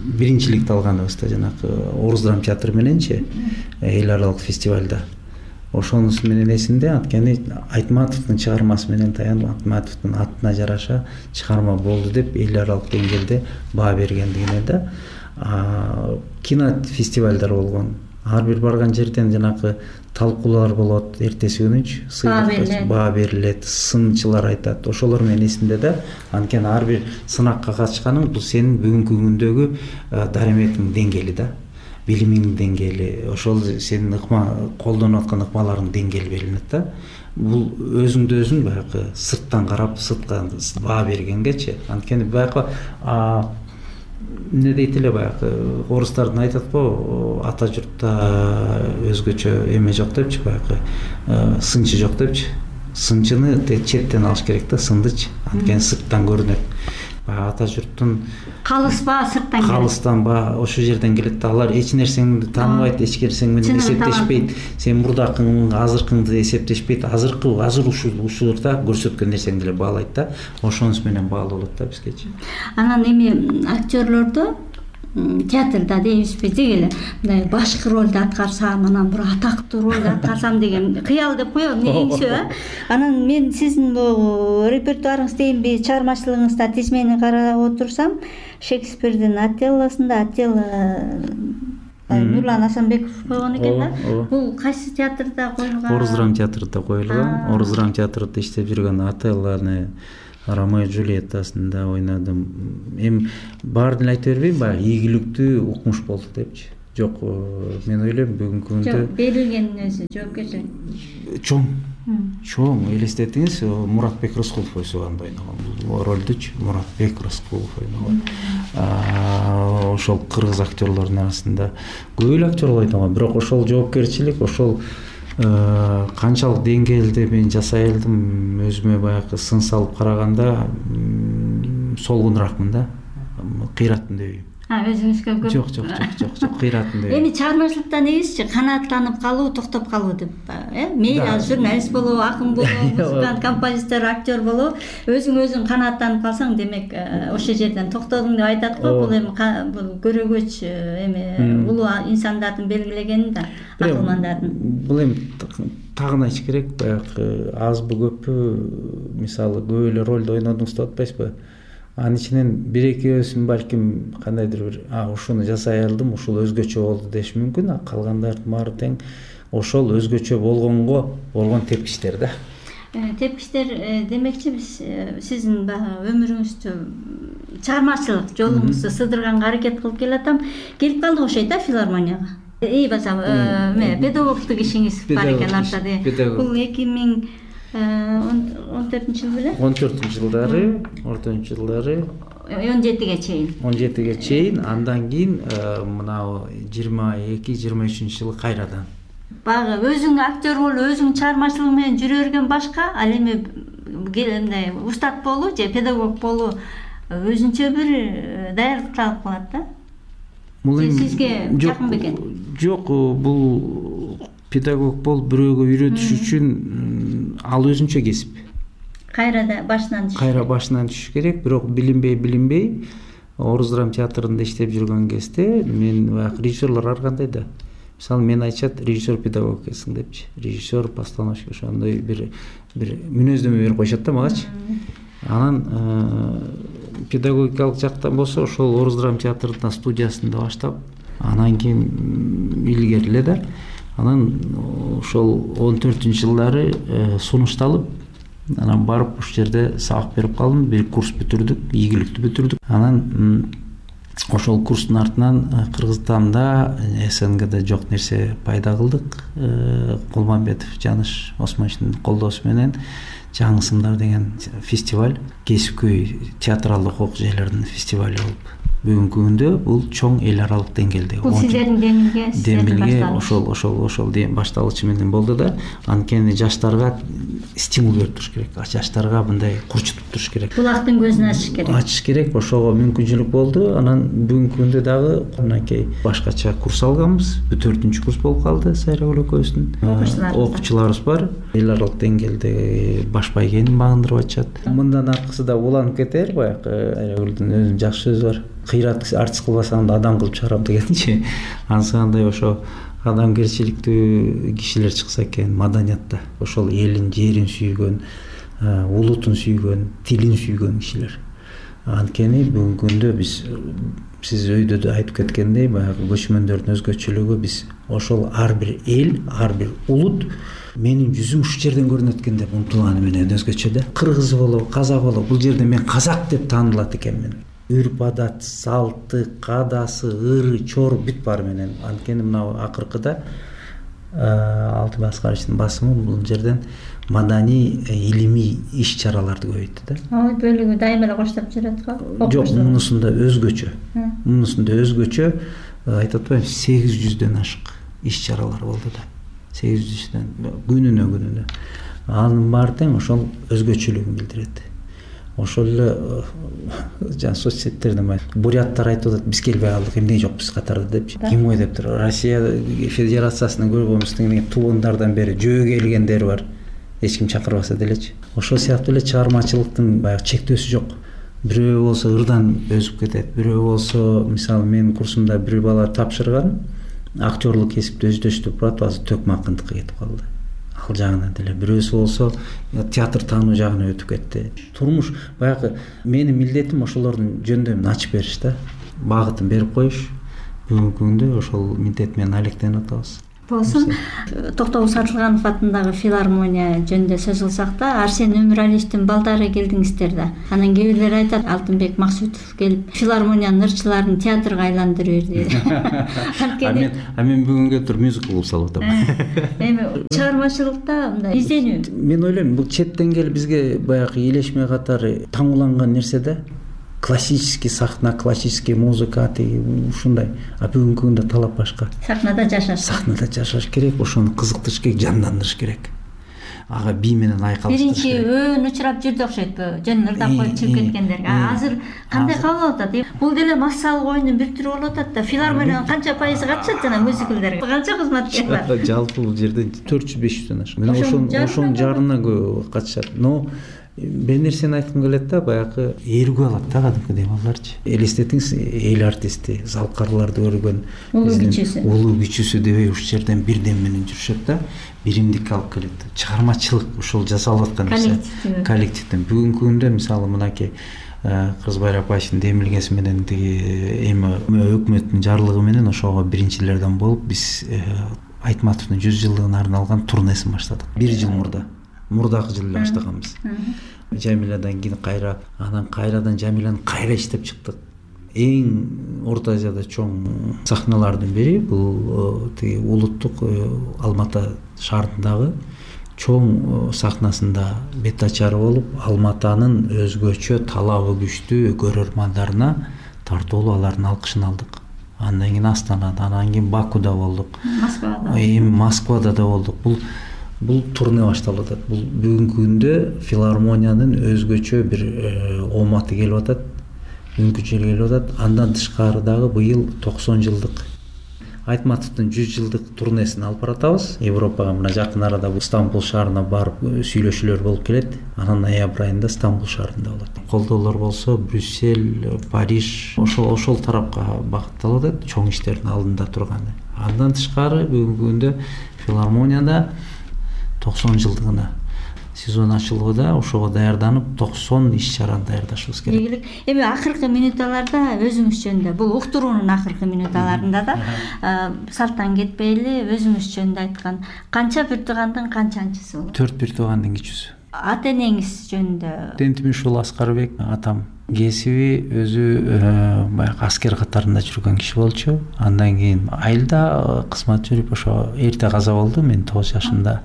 биринчиликти алганыбызда жанакы Орус драма театры мененчи эл аралык фестивалда. Ошонусу менен эсимде, анткени Айтматовдун чыгармасы менен таянып, Айтматовдун атына жараша чыгарма болду деп эл аралык деңгээлде баа бергендигине да. Кинофестивалдар болгон. Ар бир барган жерден жанакы талкуулар болот, эртеси күнүчү сыйлык баа берилет, сынчылар айтат. Ошолор менен эсимде да. Анткени ар бир сынакка катышканың бул сенин бүгүнкү күндөгү дараметиңдин деңгээли да, билимиңдин деңгээли, ошол сенин колдонуп аткан ыкмаларыңдын деңгээли белгиленет да. Бул өзүңдү өзүң баягы сырттан карап, сыртка баа бергенгечи. Анткени баягы эмне дейт эле, баягы орустардын айтат го, ата журтта өзгөчө эме жок депчи, баягы сынчы жок депчи. Сынчыны четтен алыш керек да, сындычы. Анткени сырттан көрүнөт. Баягы ата журттун калыстан ошол жерден келет да. Алар эч нерсеңди тааныбайт, эч нерсең менен эсептешпейт. Сен мурдакың, азыркыңды эсептешпейт. Азыр ушулурда көрсөткөн нерсеңди эле баалайт да. Ошонус менен баалуу болот да бизгечи. Анан эми актерлордо театрда дейбизби деги эле мындай башкы ролду аткарсам, анан бир атактуу ролду аткарсам деген кыял деп коебу, эңсөө. Анан мен сиздин бул репертуарыңыз дейинби, чыгармачылыгыңызда тизмени карап отурсам, Шекспирдин Отеллосунда Нурлан Асанбеков койгон экен да. Бул кайсы театрда коюлган? Орус драма театрында коюлган. Орус драма театрында иштеп жүргөн Отеллону Ромео и Джульеттасында ойнадым. Эми баарын айта бербейм, баягы ийгиликтүү укмуш болду депчи. Жок, мен ойлойм бүгүнкү күндө Жок, берилгенин өзү жоопкерчилик чоң элестетиңиз, Муратбек Рыскулов ойнаган бул ролдучу. Муратбек Рыскулов ойнаган. Ошол кыргыз актерлордун арасында көп эле актерлор ойнаган, бирок ошол жоопкерчилик, ошол канчалык деңгээлде мен жасай алдым, өзүмө баягы сын салып караганда солгунураакмын да, кыйраттым дебейм. Өзүңүзгө көп? Жок, кыйраттым дебейм. Эми чыгармачылыкта негизичи канааттанып калуу, токтоп калуу деп, мейли журналист болобу, акын болобу, музыкант, композитор, актер болобу, өзүң канааттанып калсаң, демек ошол жерден токтодуң деп айтат го. Бул эми бул көрөгөч эми улуу инсандардын белгилегени да, акылмандардын. Бул эми тагын айтыш керек, баягы азбы көппү, мисалы көп эле ролду ойнодуңуз деп атпайсызбы? Анын ичинен бир-экөөсүн балким кандайдыр бир ушуну жасай алдым, ушул өзгөчө болду деш мүмкүн, а калгандардын баары тең ошол өзгөчө болгонго болгон тепкичтер да. Тепкичтер демекчи, биз сиздин баягы өмүрүңүздү, чыгармачылык жолуңузду сыдырганга аракет кылып келатам. Келип калдык окшойт да филармонияга. Басам, педагогтук ишиңиз бар экен артта. Бул 2014-жыл беле? 14-жылдары, ортончу жылдары 17-ге чейин, андан кийин мына 22-23-жылы кайрадан. Багы өзүң актер болуп, өзүң чыгармачылык менен жүрө берген башка, ал эми мындай устат болуу же педагог болуу өзүнчө бир даярдык талап кылат да. Сизге жакын бекен? Жок, бул педагог болуп бирөөгө үйрөтүш үчүн ал өзүнчө кесип. Кайра башынан түшүш керек, бирок билинбей Орус драма театрында иштеп жүргөн кезде мен баягы режиссерлор ар кандай да. Мисалы мен айтышат, режиссер педагог экенсиң депчи. Режиссер, постановщик ошондой бир мүнөздөмө берип коюшат да магачы. Анан педагогикалык жактан болсо ошол Орус драма театрында студиясында баштап, анан кийин илгериле да. Анан ошол 14-жылдары сунушталып, анан барып ушул жерде сабак берип калдым, бир курс бүтүрдүк, ийгиликтүү бүтүрдүк. Анан ошол курстун артынан Кыргызстанда, СНГде жок нерсе пайда кылдык. Кулмамбетов Жаныш Осмоновичтин колдоосу менен Жаңы сымдар деген фестиваль, кесипкөй театралдык окуу жайлардын фестивали болуп. Бүгүнкү күндө бул чоң эл аралык деңгээлде. Бул сиздердин демилге ошол башталышы менен болду да. Анткени жаштарга стимул берип туруш керек. Жаштарга мындай курчутуп туруш керек. Булактын көзүн ачыш керек. Ошого мүмкүнчүлүк болду. Анан бүгүнкү күндө дагы мынакей башкача курс алганбыз. 4-курс болуп калды Сайрагүл экөөбүздүн. Окуучуларыбыз бар. Эл аралык деңгээлде баш байгенин багындырып атышат. Мындан аркысы да уланып кетер, баягы Сайрагүлдүн өзүнүн жакшы сөзү бар. Кыйрат артист кылбасаң да адам кылып чыгарам дегенчи. Ансыкандай ошо адамгерчиликтүү кишилер чыкса экен маданиятта. Ошол элин, жерин сүйгөн, улутун сүйгөн, тилин сүйгөн кишилер. Анткени бүгүнкү күндө биз, сиз өйдө да айтып кеткендей, баягы көчмөндөрдүн өзгөчөлүгү, биз ошол ар бир эл, ар бир улут менин жүзүм ушул жерден көрүнөт экен деп умтулганы менен өзгөчө да. Кыргыз болобу, казак болобу, бул жерде мен казак деп таанылат экенмин. Үрп адат, салты, кадасы, ыры, чор бүт бар менен. Анткени мына акыркыда Алтынбек Аскаровичтин басымы бул жерден маданий, илимий иш-чараларды көбөйттү да. Бөлүгү дайыма эле коштоп жүрөт го. Жок, мунусунда өзгөчө. Айтып атпайм, 800дөн ашык иш-чаралар болду да. 800дөн күнүнө. Анын баары тең ошол өзгөчөлүгүн билдирет. Ошол эле жана соцсеттерден буряттар айтып атат, биз келбей калдык, эмне жок биз катарда депчи. Ким ой дептир? Россия Федерациясынан көргөнбүздүн туулундардан бери жөө келгендер бар. Эч ким чакырбаса делечи. Ошол сыяктуу эле чыгармачылыктын баягы чектөөсү жок. бирөө болсо ырдан өсүп кетет, бирөө болсо мисалы менин курсумда бир бала тапшырган актерлук кесипти өздөштүрүп турат, азыр төкмакындыкка кетип калды. Ал жагынан деле бирөөсү болсо театр таануу жагына өтүп кетти. Турмуш баягы менин милдетим ошолордун жөндөмүн ачып бериш да, багытын берип коюш. Бүгүнкү күндө ошол милдет менен алектенип атабыз. Болсун, Токтобул Сатылганов атындагы филармония жөнүндө сөз кылсак да, Арсен Өмүралиевдин балдары келдиңиздер да. Анан кээ бирлер айтат, Алтынбек Максутов келип филармониянын ырчыларын театрга айландырып берди. Мен бүгүнгө туруп мюзикл кылып салып атам. Эми чыгармачылыкта мындай изденүү. Мен ойлойм, бул четтен келип бизге баягы элешме катары таңууланган нерсе да. Классический сахна, классический музыка ушундай. А бүгүнкү күндө талап башка. Сахнада жашаш керек, ошону кызыктырыш керек, жандандырыш керек. Ага бий менен айкалыштырыш керек. Биринчи өөн учурап жүрдү окшойт, жөн ырдап коюп чыгып кеткендерге. Азыр кандай кабыл алып атат? Бул деле массалык оюндун бир түрү болуп атат да. Филармониянын канча пайызы катышат жана мюзиклдерге? Канча кызматкер бар? Жалпы бул жерде 400-500дөн ашык. Мен ошонун жарынан көп катышат. Но бир нерсени айткым келет да, баягы ээргүү алат да кадимкидей балдарчы. Элестетиңиз, эл артисти, залкарларды көргөн улуу күчүсү дебей ушул жерден бирден менен жүрүшөт да, биримдикке алып келет. Чыгармачылык ушул жасалып аткан нерсе коллективден. Бүгүнкү күндө мисалы мынакей Кыргызбай Рапаевдин демилгеси менен тиги эми өкмөттүн жарлыгы менен ошого биринчилерден болуп биз Айтматовдун 100 жылдыгына арналган турнесин баштадык. 1 жыл мурдагы жылы эле баштаганбыз. Жамиладан кийин кайрадан Жамиланы кайра иштеп чыктык. Эң Орто Азияда чоң сахналардын бири бул тиги улуттук Алматы шаарындагы чоң сахнасында бет ачары болуп, Алматанын өзгөчө талабы күчтүү көрөрмандарына тартуулуу алардын алкышын алдык. Андан кийин Астанада, андан кийин Бакуда болдук. Москвада да болдук. Бул турне башталып атат. Бул бүгүнкү күндө филармониянын өзгөчө бир оматы келип атат. Бүгүнкү жыл келип атат. Андан тышкары дагы быйыл 90 жылдык Айтматовдун 100 жылдык турнесин алып баратабыз. Европага мына жакын арада Стамбул шаарына барып сүйлөшүүлөр болуп келет. Анан ноябрь айында Стамбул шаарында болот. Колдоолор болсо Брюссель, Париж, ошол тарапка багытталып атат, чоң иштердин алдында турган. Андан тышкары бүгүнкү күндө филармонияда 90 жылдыгына сезон ачылууда, ошого даярданып 90 иш-чараны даярдашыбыз керек. Эми акыркы минуталарда өзүңүз жөнүндө, бул уктуруунун акыркы минуталарында да салттан кетпейли өзүңүз жөнүндө айткан канча бир туугандын канчанчысы болот? 4 бир туугандын кичүүсү. Ата энеңиз жөнүндө? Тентимишул Аскарбек атам. Кесиби өзү баягы аскер катарында жүргөн киши болчу. Андан кийин айылда кызмат жүрүп ошо эрте каза болду. Мен 9 жашымда.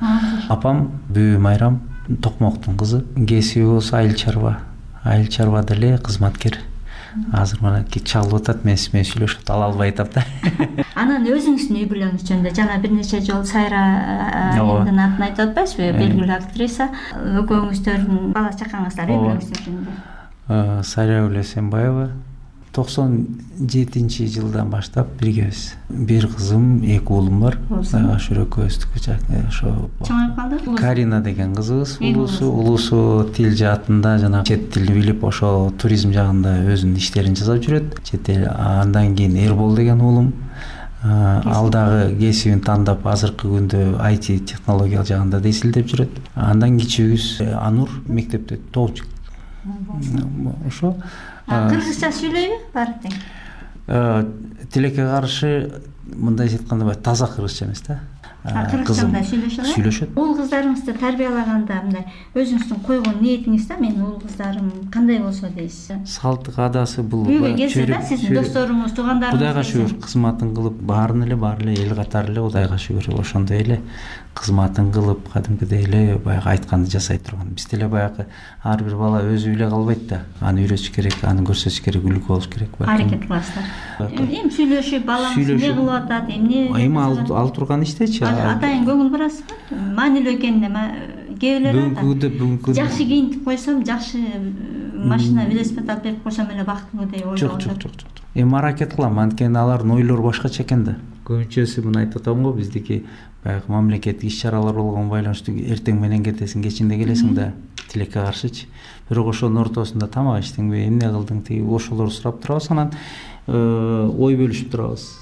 Апам Бүү Майрам Токмоктун кызы. Кесиби болсо айыл чарба. Айыл чарбада эле кызматкер. Азыр мына чалып атат, мен сүйлөшүп ала албай атам да. Анан өзүңүздүн үй бүлөңүз жөнүндө жана бир нече жолу Сайра айымдын атын айтып атпайсызбы? Белгилүү актриса. Экөөңүздөрдүн бала чакаңыздар үй бүлөңүздөр жөнүндө. Сайра Эсенбаева 97 жылдан баштап биргебиз. Бир кызым, 2 уулум бар. Ошо экөөбүздүкү ошо чоңоюп калды. Карина деген кызыбыз, улусу тил жаатында жана чет тилди билип, ошо туризм жагында өзүнүн иштерин жасап жүрөт. Чет эл. Андан кийин Эрбол деген уулум ал дагы кесибин тандап азыркы күндө IT технология жагында десилдеп жүрөт. Андан кичүүбүз Анур мектепте тоочу. Ошо кыргызча сүйлөйбү баары тең? Тилекке каршы мындай айтканда таза кыргызча эмес да. Кыргызчада сүйлөшөт. Уул кыздарыңызды тарбиялаганда мындай өзүңүздүн койгон ниетиңиз да, мен уул кыздарым кандай болсо дейсиз? Салт каадасы бул үйгө келсе да, сиздин досторуңуз, туугандарыңыз Кудайга шүгүр кызматын кылып, баарын эле эл катары эле Кудайга шүгүр ошондой эле кызматын кылып, кадимкидей эле баягы айтканды жасай турган. Биз деле баягы ар бир бала өзү эле калбайт да. Аны үйрөтүш керек, аны көрсөтүш керек, үлгү болуш керек. Аракет кыласыздар. Эми сүйлөшүп, балаңыз эмне кылып атат, эмне? Эми ал турган иштечи. Атайын көңүл бурасызбы? Маанилүү экенине бүгүнкү жакшы кийинтип койсом, жакшы машина, велосипед алып берип койсом эле бактылуу деп ойлоп атат. Жок. Эми аракет кылам, анткени алардын ойлору башкача экен да. Көбүнчөсү муну айтып атам го, биздики баягы мамлекеттик иш-чаралар болгон байланыштуу эртең менен кетесиң, кечинде келесиң да. тилекке каршычы. Бирок ошонун ортосунда тамак ичтиңби, эмне кылдың, тиги ошолорду сурап турабыз, анан ой бөлүшүп турабыз.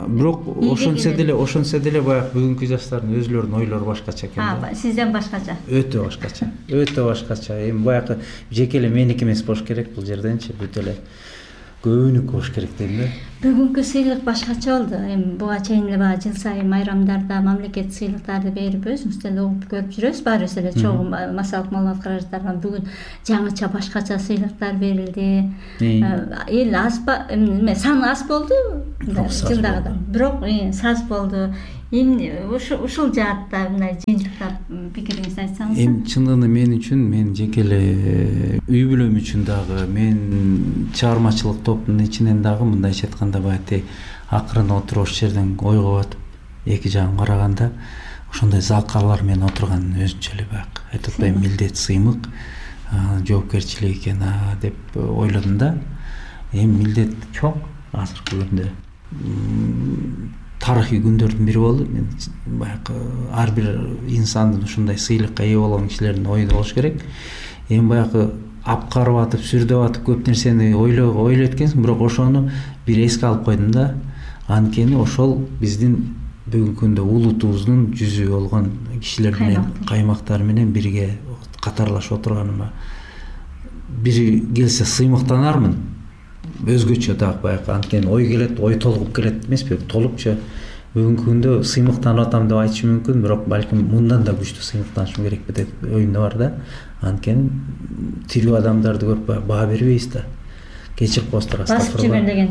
Бирок ошонсо деле баягы бүгүнкү жаштардын өзүлөрүнүн ойлору башкача экен да. Сизден башкача. Өтө башкача. Эми баягы жеке эле меники эмес болуш керек бул жерденчи, бүт эле көбүнүкү болуш керек дейм да. Бүгүнкү сыйлык башкача болду. Эми буга чейин эле баягы жыл сайын майрамдарда мамлекеттик сыйлыктарды берип өзүңүз деле угуп көрүп жүрөсүз. Баарыбыз эле чогуу массалык маалымат каражаттарынан бүгүн жаңыча башкача сыйлыктар берилди. Эл эме саны аз болду жылдагыдай. Бирок саз болду. Эми ушул жаатта мындай жыйынтыктап пикириңизди айтсаңыз. Эми чындыгында мен үчүн, мен жеке эле үй бүлөм үчүн дагы, мен чыгармачылык топтун ичинен дагы мындайча айтканда баягы акырын отуруп ошол жерден ойго батып, эки жагын караганда ошондой залкалар менен отурган өзүнчө эле баягы айтып атпайбы, милдет, сыймык, жоопкерчилик экен деп ойлодум да. Эми милдет чоң азыркы күндө. Тарыхый күндөрдүн бири болду. Мен баягы ар бир инсандын ушундай сыйлыкка ээ болгон кишилердин ою болуш керек. Эми баягы апкарып атып, сүрдөп атып көп нерсени ойлойт экенсиң, бирок ошону бир эске алып койдум да. Анткени ошол биздин бүгүнкү күндө улутубуздун жүзү болгон кишилер менен, каймактар менен бирге катарлашып отурганыма бири келсе сыймыктанармын. Өзгөчө дагы баягы анткени ой келет, ой толугуп келет эмеспи? Толупчу бүгүнкү күндө сыймыктанып атам деп айтышым мүмкүн, бирок балким мындан да күчтүү сыймыктанышым керекпи деп оюмда бар да. Анткени тирүү адамдарды көрүп баа бербейбиз да. Кечирип коесуздар,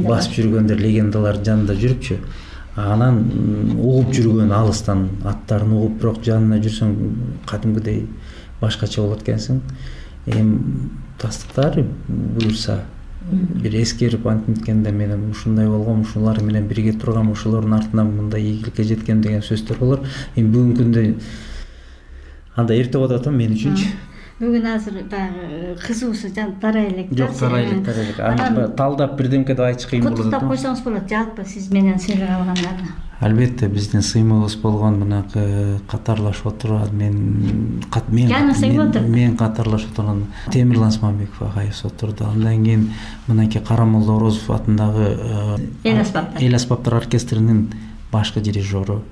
басып жүргөндөр легендалар жанында жүрүпчү. Анан угуп жүргөн алыстан аттарын угуп, бирок жанына жүрсөң кадимгидей башкача болот экенсиң. Эми тастыктар буюрса бир эскерип антиткенде менен ушундай болгом, ушулар менен бирге тургам, ошолордун артынан мындай ийгиликке жеткем деген сөздөр болор. Эми бүгүнкү күндө андай эрте болуп атат мен үчүнчү. Бүгүн азыр баягы кызуусу тарай элек. Жок, тарай элек. Анан талдап бирдемке деп айтыш кыйын болот. Куттуктап койсоңуз болот жалпы сиз менен сыйлык алгандарды. Албетте биздин сыймыгыбыз болгон мынакы катарлашып отурат, мен катарлашып отурган Темирлан Смамбеков агайыбыз отурду. Андан кийин мынакей Карамолла Орозов атындагы эл аспаптар оркестринин башкы дирижеру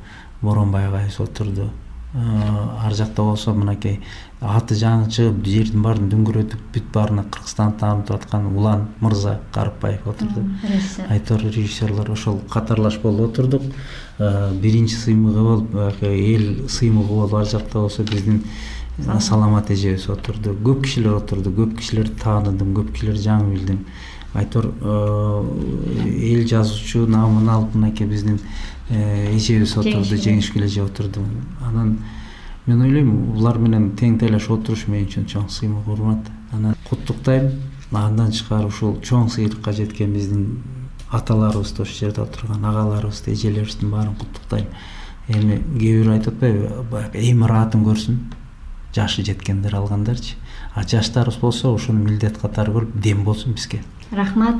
Боронбай агайыбыз отурду. Ар жакта болсо мынакей аты жаңы чыгып жердин баарын дүңгүрөтүп бүт баарына Кыргызстанды таанып аткан Улан мырза Карыпбаев отурду. Айтор режиссерлор ошол катарлашып болуп отурдук. Биринчи сыймыгы болуп, эл сыймыгы болуп ар жакта болсо биздин Саламат эжебиз отурду. Көп кишилер отурду, көп кишилерди тааныдым, көп кишилерди жаңы билдим. Айтор эл жазуучу намын алып мынакей биздин эжебиз отурду, Жеңишгүл эже отурду. Анан мен ойлойм, булар менен тең тейлешип отуруш мен үчүн чоң сыймык, урмат. Анан куттуктайм. Андан тышкары ушул чоң сыйлыкка жеткен биздин аталарыбызды, ошол жерде отурган агаларыбызды, эжелерибиздин баарын куттуктайм. Эми кээ бирөө айтып атпайбы, баягы эми ыраатын көрсүн, жашы жеткендер алгандарчы. А жаштарыбыз болсо ошону милдет катары көрүп дем болсун бизге. Рахмат.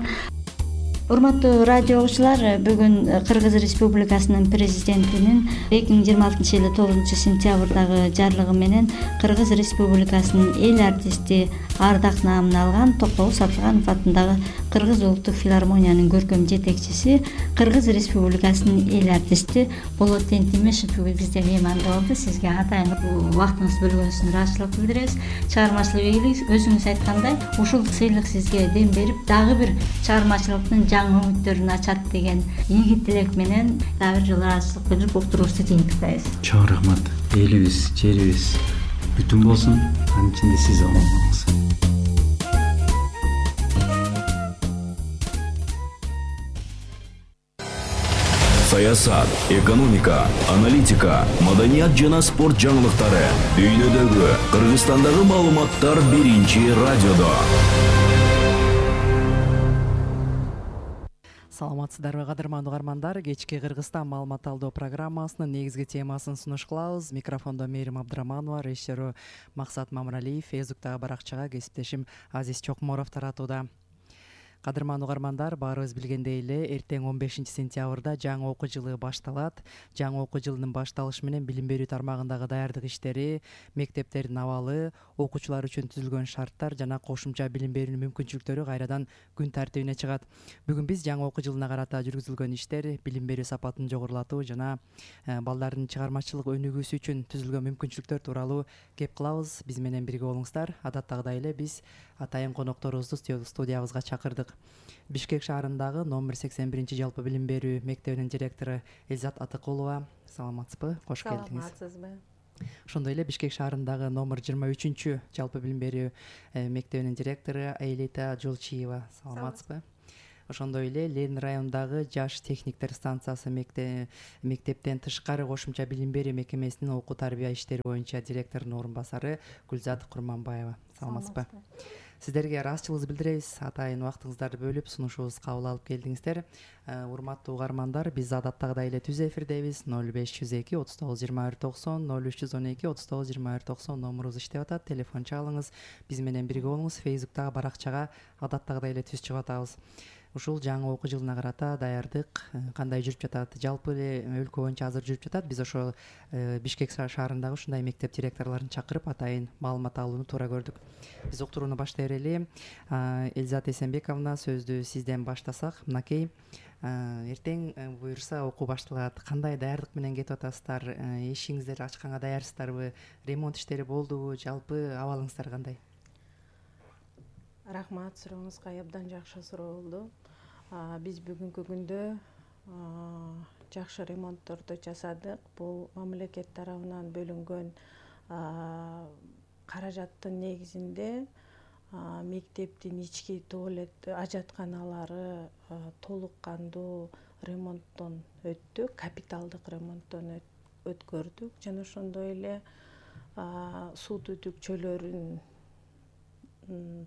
Урматтуу радио угуучулар, бүгүн Кыргыз Республикасынын президентинин 2026-жылы 9-сентябрдагы жарлыгы менен Кыргыз Республикасынын эл артисти ардак наамын алган Токтогул Сапарганов атындагы Кыргыз улуттук филармониянын көркөм жетекчиси, Кыргыз Республикасынын эл артисти Болот Тентимешев бизде мейманда болду. Сизге атайын убактыңызды бөлгөнүңүзгө ыраазычылык билдиребиз. Чыгармачылык ийгилик, өзүңүз айткандай, ушул сыйлык сизге дем берип, дагы бир чыгармачылыктын жаңы үмүттөрүн ачат деген ийгит тилек менен дагы бир жолу ыраазычылык билдирип уктуруубузду жыйынтыктайбыз. Чоң рахмат. Элибиз, жерибиз бүтүн болсун. Анын ичинде сиз болуңуз. Саясат, экономика, аналитика, маданият жана спорт жаңылыктары, дүйнөдөгү, Кыргызстандагы маалыматтар биринчи радиодо. Саламатсыздарбы кадырмандуу угармандар, кечки Кыргызстан маалымат алдоо программасынын негизги темасын сунуш кылабыз. Микрофондо Мээрим Абдыраманова, режиссеру Максат Мамыралиев, Фейсбуктагы баракчага кесиптешим Азиз Чокморов таратууда. Кадырман угармандар, баарыбыз билгендей эле эртең 15 сентябрда жаңы окуу жылы башталат. Жаңы окуу жылынын башталышы менен билим берүү тармагындагы даярдык иштери, мектептердин абалы, окуучулар үчүн түзүлгөн шарттар жана кошумча билим берүүнүн мүмкүнчүлүктөрү кайрадан күн тартибине чыгат. Бүгүн биз жаңы окуу жылына карата жүргүзүлгөн иштер, билим берүү сапатын жогорулатуу жана балдардын чыгармачылык өнүгүүсү үчүн түзүлгөн мүмкүнчүлүктөр тууралуу кеп кылабыз. Биз менен бирге болуңуздар. Адаттагыдай эле биз атайын конокторубузду студиябызга чакырдык. Бишкек шаарындагы номер 81 жалпы билим берүү мектебинин директору Эльзат Атыкулова. Саламатсызбы? Кош келдиңиз. Саламатсызбы? Ошондой эле Бишкек шаарындагы номер 23 жалпы билим берүү мектебинин директору Аэлита Жолчиева. Саламатсызбы? Ошондой эле Ленин районундагы жаш техниктер станциясы мектептен тышкары кошумча билим берүү мекемесинин окуу тарбия иштери боюнча директорунун орун басары Гүлзат Курманбаева. Саламатсызбы? Сиздерге ыраазычылыгыбызды билдиребиз. Атайын убактыңыздарды бөлүп сунушубузду кабыл алып келдиңиздер. Урматтуу угармандар, биз адаттагыдай эле түз эфирдебиз. 0502 39 21 90 0312 39 21 90 номурубуз иштеп атат. Телефон чалыңыз, биз менен бирге болуңуз. Фейсбуктагы баракчага адаттагыдай эле түз чыгып атабыз. Ушул жаңы окуу жылына карата даярдык кандай жүрүп жатат? Жалпы эле өлкө боюнча азыр жүрүп жатат. Биз ошо Бишкек шаарындагы ушундай мектеп директорлорун чакырып атайын маалымат алууну туура көрдүк. Биз уктурууну баштай берели. Эльзат Эсенбековна, сөздү сизден баштасак. Мынакей, эртең буюрса окуу башталат. Кандай даярдык менен кетип атасыздар? Эшигиңиздерди ачканга даярсыздарбы? Ремонт иштери болдубу? Жалпы абалыңыздар кандай? Рахмат, сурооңузга абдан жакшы суроо болду. Биз бүгүнкү күндө жакшы ремонтторду жасадык. Бул мамлекет тарабынан бөлүнгөн каражаттын негизинде мектептин ички туалет ажатканалары толук кандуу ремонттон өттү, капиталдык ремонттон өткөрдүк жана ошондой эле суу түтүкчөлөрүн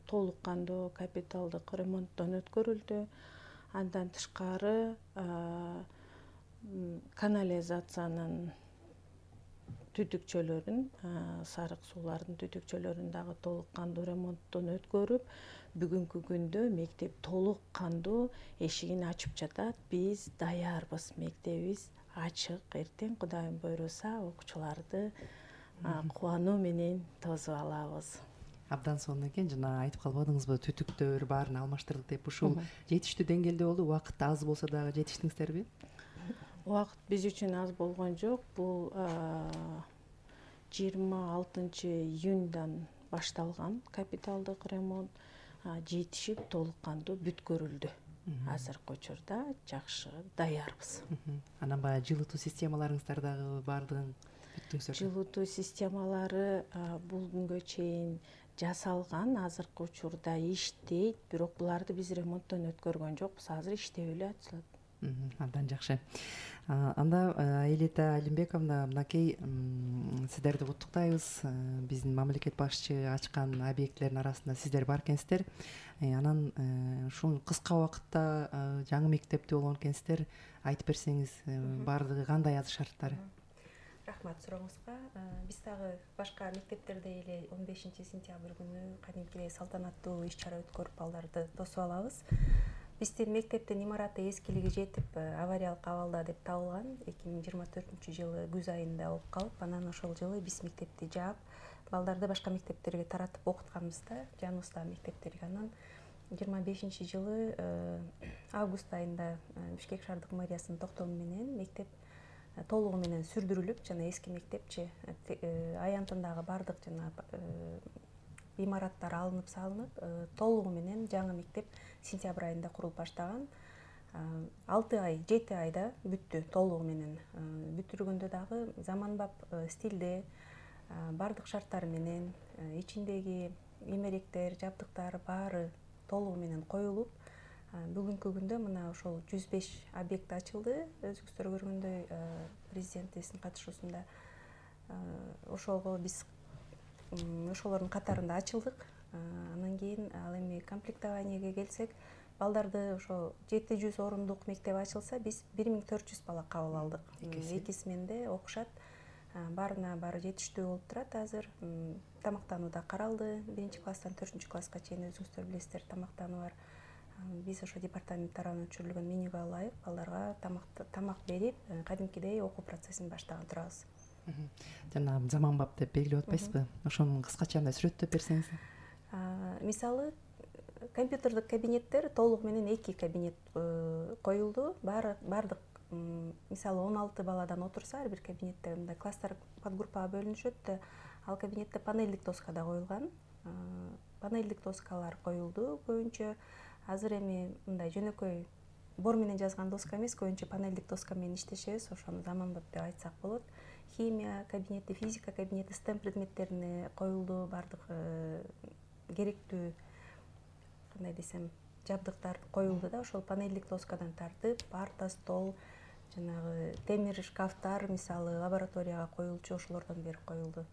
толук кандуу капиталдык ремонттон өткөрүлдү. Андан тышкары канализациянын түтүкчөлөрүн, сарык суулардын түтүкчөлөрүн дагы толук кандуу ремонттон өткөрүп, бүгүнкү күндө мектеп толук кандуу эшигин ачып жатат. Биз даярбыз, мектебибиз ачык. Эртең Кудайым буйруса окуучуларды кубануу менен тосуп алабыз. Абдан сонун экен. Жана айтып калбадыңызбы, түтүктөр баарын алмаштырдык деп? Ушул жетиштүү деңгээлде болду. Убакыт аз болсо дагы жетиштиңиздерби? Убакыт биз үчүн аз болгон жок. Бул 26 июндан башталган капиталдык ремонт жетишип толук кандуу бүткөрүлдү. Азыркы учурда жакшы даярбыз. Анан баягы жылытуу системаларыңыздар дагы баардыгын бүттүңүздөр? Жылытуу системалары бул күнгө чейин жасалган, азыркы учурда иштейт, бирок буларды биз ремонттон өткөргөн жокпуз. Азыр иштеп эле атышат. Абдан жакшы. Анда Аэлита Алимбековна, мынакей сиздерди куттуктайбыз. Биздин мамлекет башчы ачкан объектилердин арасында сиздер бар экенсиздер. Анан ушул кыска убакытта жаңы мектепте болгон экенсиздер. Айтып берсеңиз, баардыгы кандай азыр шарттары? Рахмат сурооңузга. Биз дагы башка мектептердей эле 15 сентябрь күнү кадимкидей салтанаттуу иш-чара өткөрүп балдарды тосуп алабыз. Биздин мектептин имараты эскилиги жетип, авариялык абалда деп табылган. 2024-жылы күз айында болуп калып, анан ошол жылы биз мектепти жаап, балдарды башка мектептерге таратып окутканбыз да, жаныбыздагы мектептерге. Анан 25-жылы август айында Бишкек шаардык мэриясынын токтому менен мектеп толугу менен сүрдүрүлүп, жана эски мектепчи аянтындагы бардык жана имараттар алынып салынып, толугу менен жаңы мектеп сентябрь айында курулуп баштаган. 7 айда бүттү толугу менен. Бүтүргөндө дагы заманбап стилде бардык шарттары менен ичиндеги эмеректер, жабдыктар баары толугу менен коюлуп, бүгүнкү күндө мына ошол 105 объект ачылды. Өзүңүздөр көргөндөй президентибиздин катышуусунда ошого биз ошолордун катарында ачылдык. Анан кийин ал эми комплектованиеге келсек, балдарды ошо 700 орундук мектеп ачылса, биз 1400 бала кабыл алдык. Эки сменде окушат. Баарына баары жетиштүү болуп турат азыр. Тамактануу да каралды. 1-класстан 4-класска чейин өзүңүздөр билесиздер, тамактануу бар. Биз ошо департамент тарабынан өчүрүлгөн менюга ылайык балдарга тамак берип, кадимкидей окуу процессин баштаган турабыз. Жана заманбап деп белгилеп атпайсызбы? Ошону кыскача мындай сүрөттөп берсеңиз. Мисалы, компьютердик кабинеттер толугу менен 2 кабинет коюлду. Бардык мисалы 16 баладан отурса, ар бир кабинетте мындай класстар подгруппага бөлүнүшөт да, ал кабинетте панелдик доска да коюлган. Панелдик доскалар коюлду көбүнчө. Азыр эми мындай жөнөкөй бор менен жазган доска эмес, көбүнчө панелдик доска менен иштешебиз, ошону заманбап деп айтсак болот. Химия кабинети, физика кабинети, STEM предметтерине коюлду, бардык керектүү кандай десем жабдыктар коюлду да, ошол панелдик доскадан тартып, парта, стол, жанагы темир шкафтар, мисалы лабораторияга коюлчу ошолордон бери коюлду.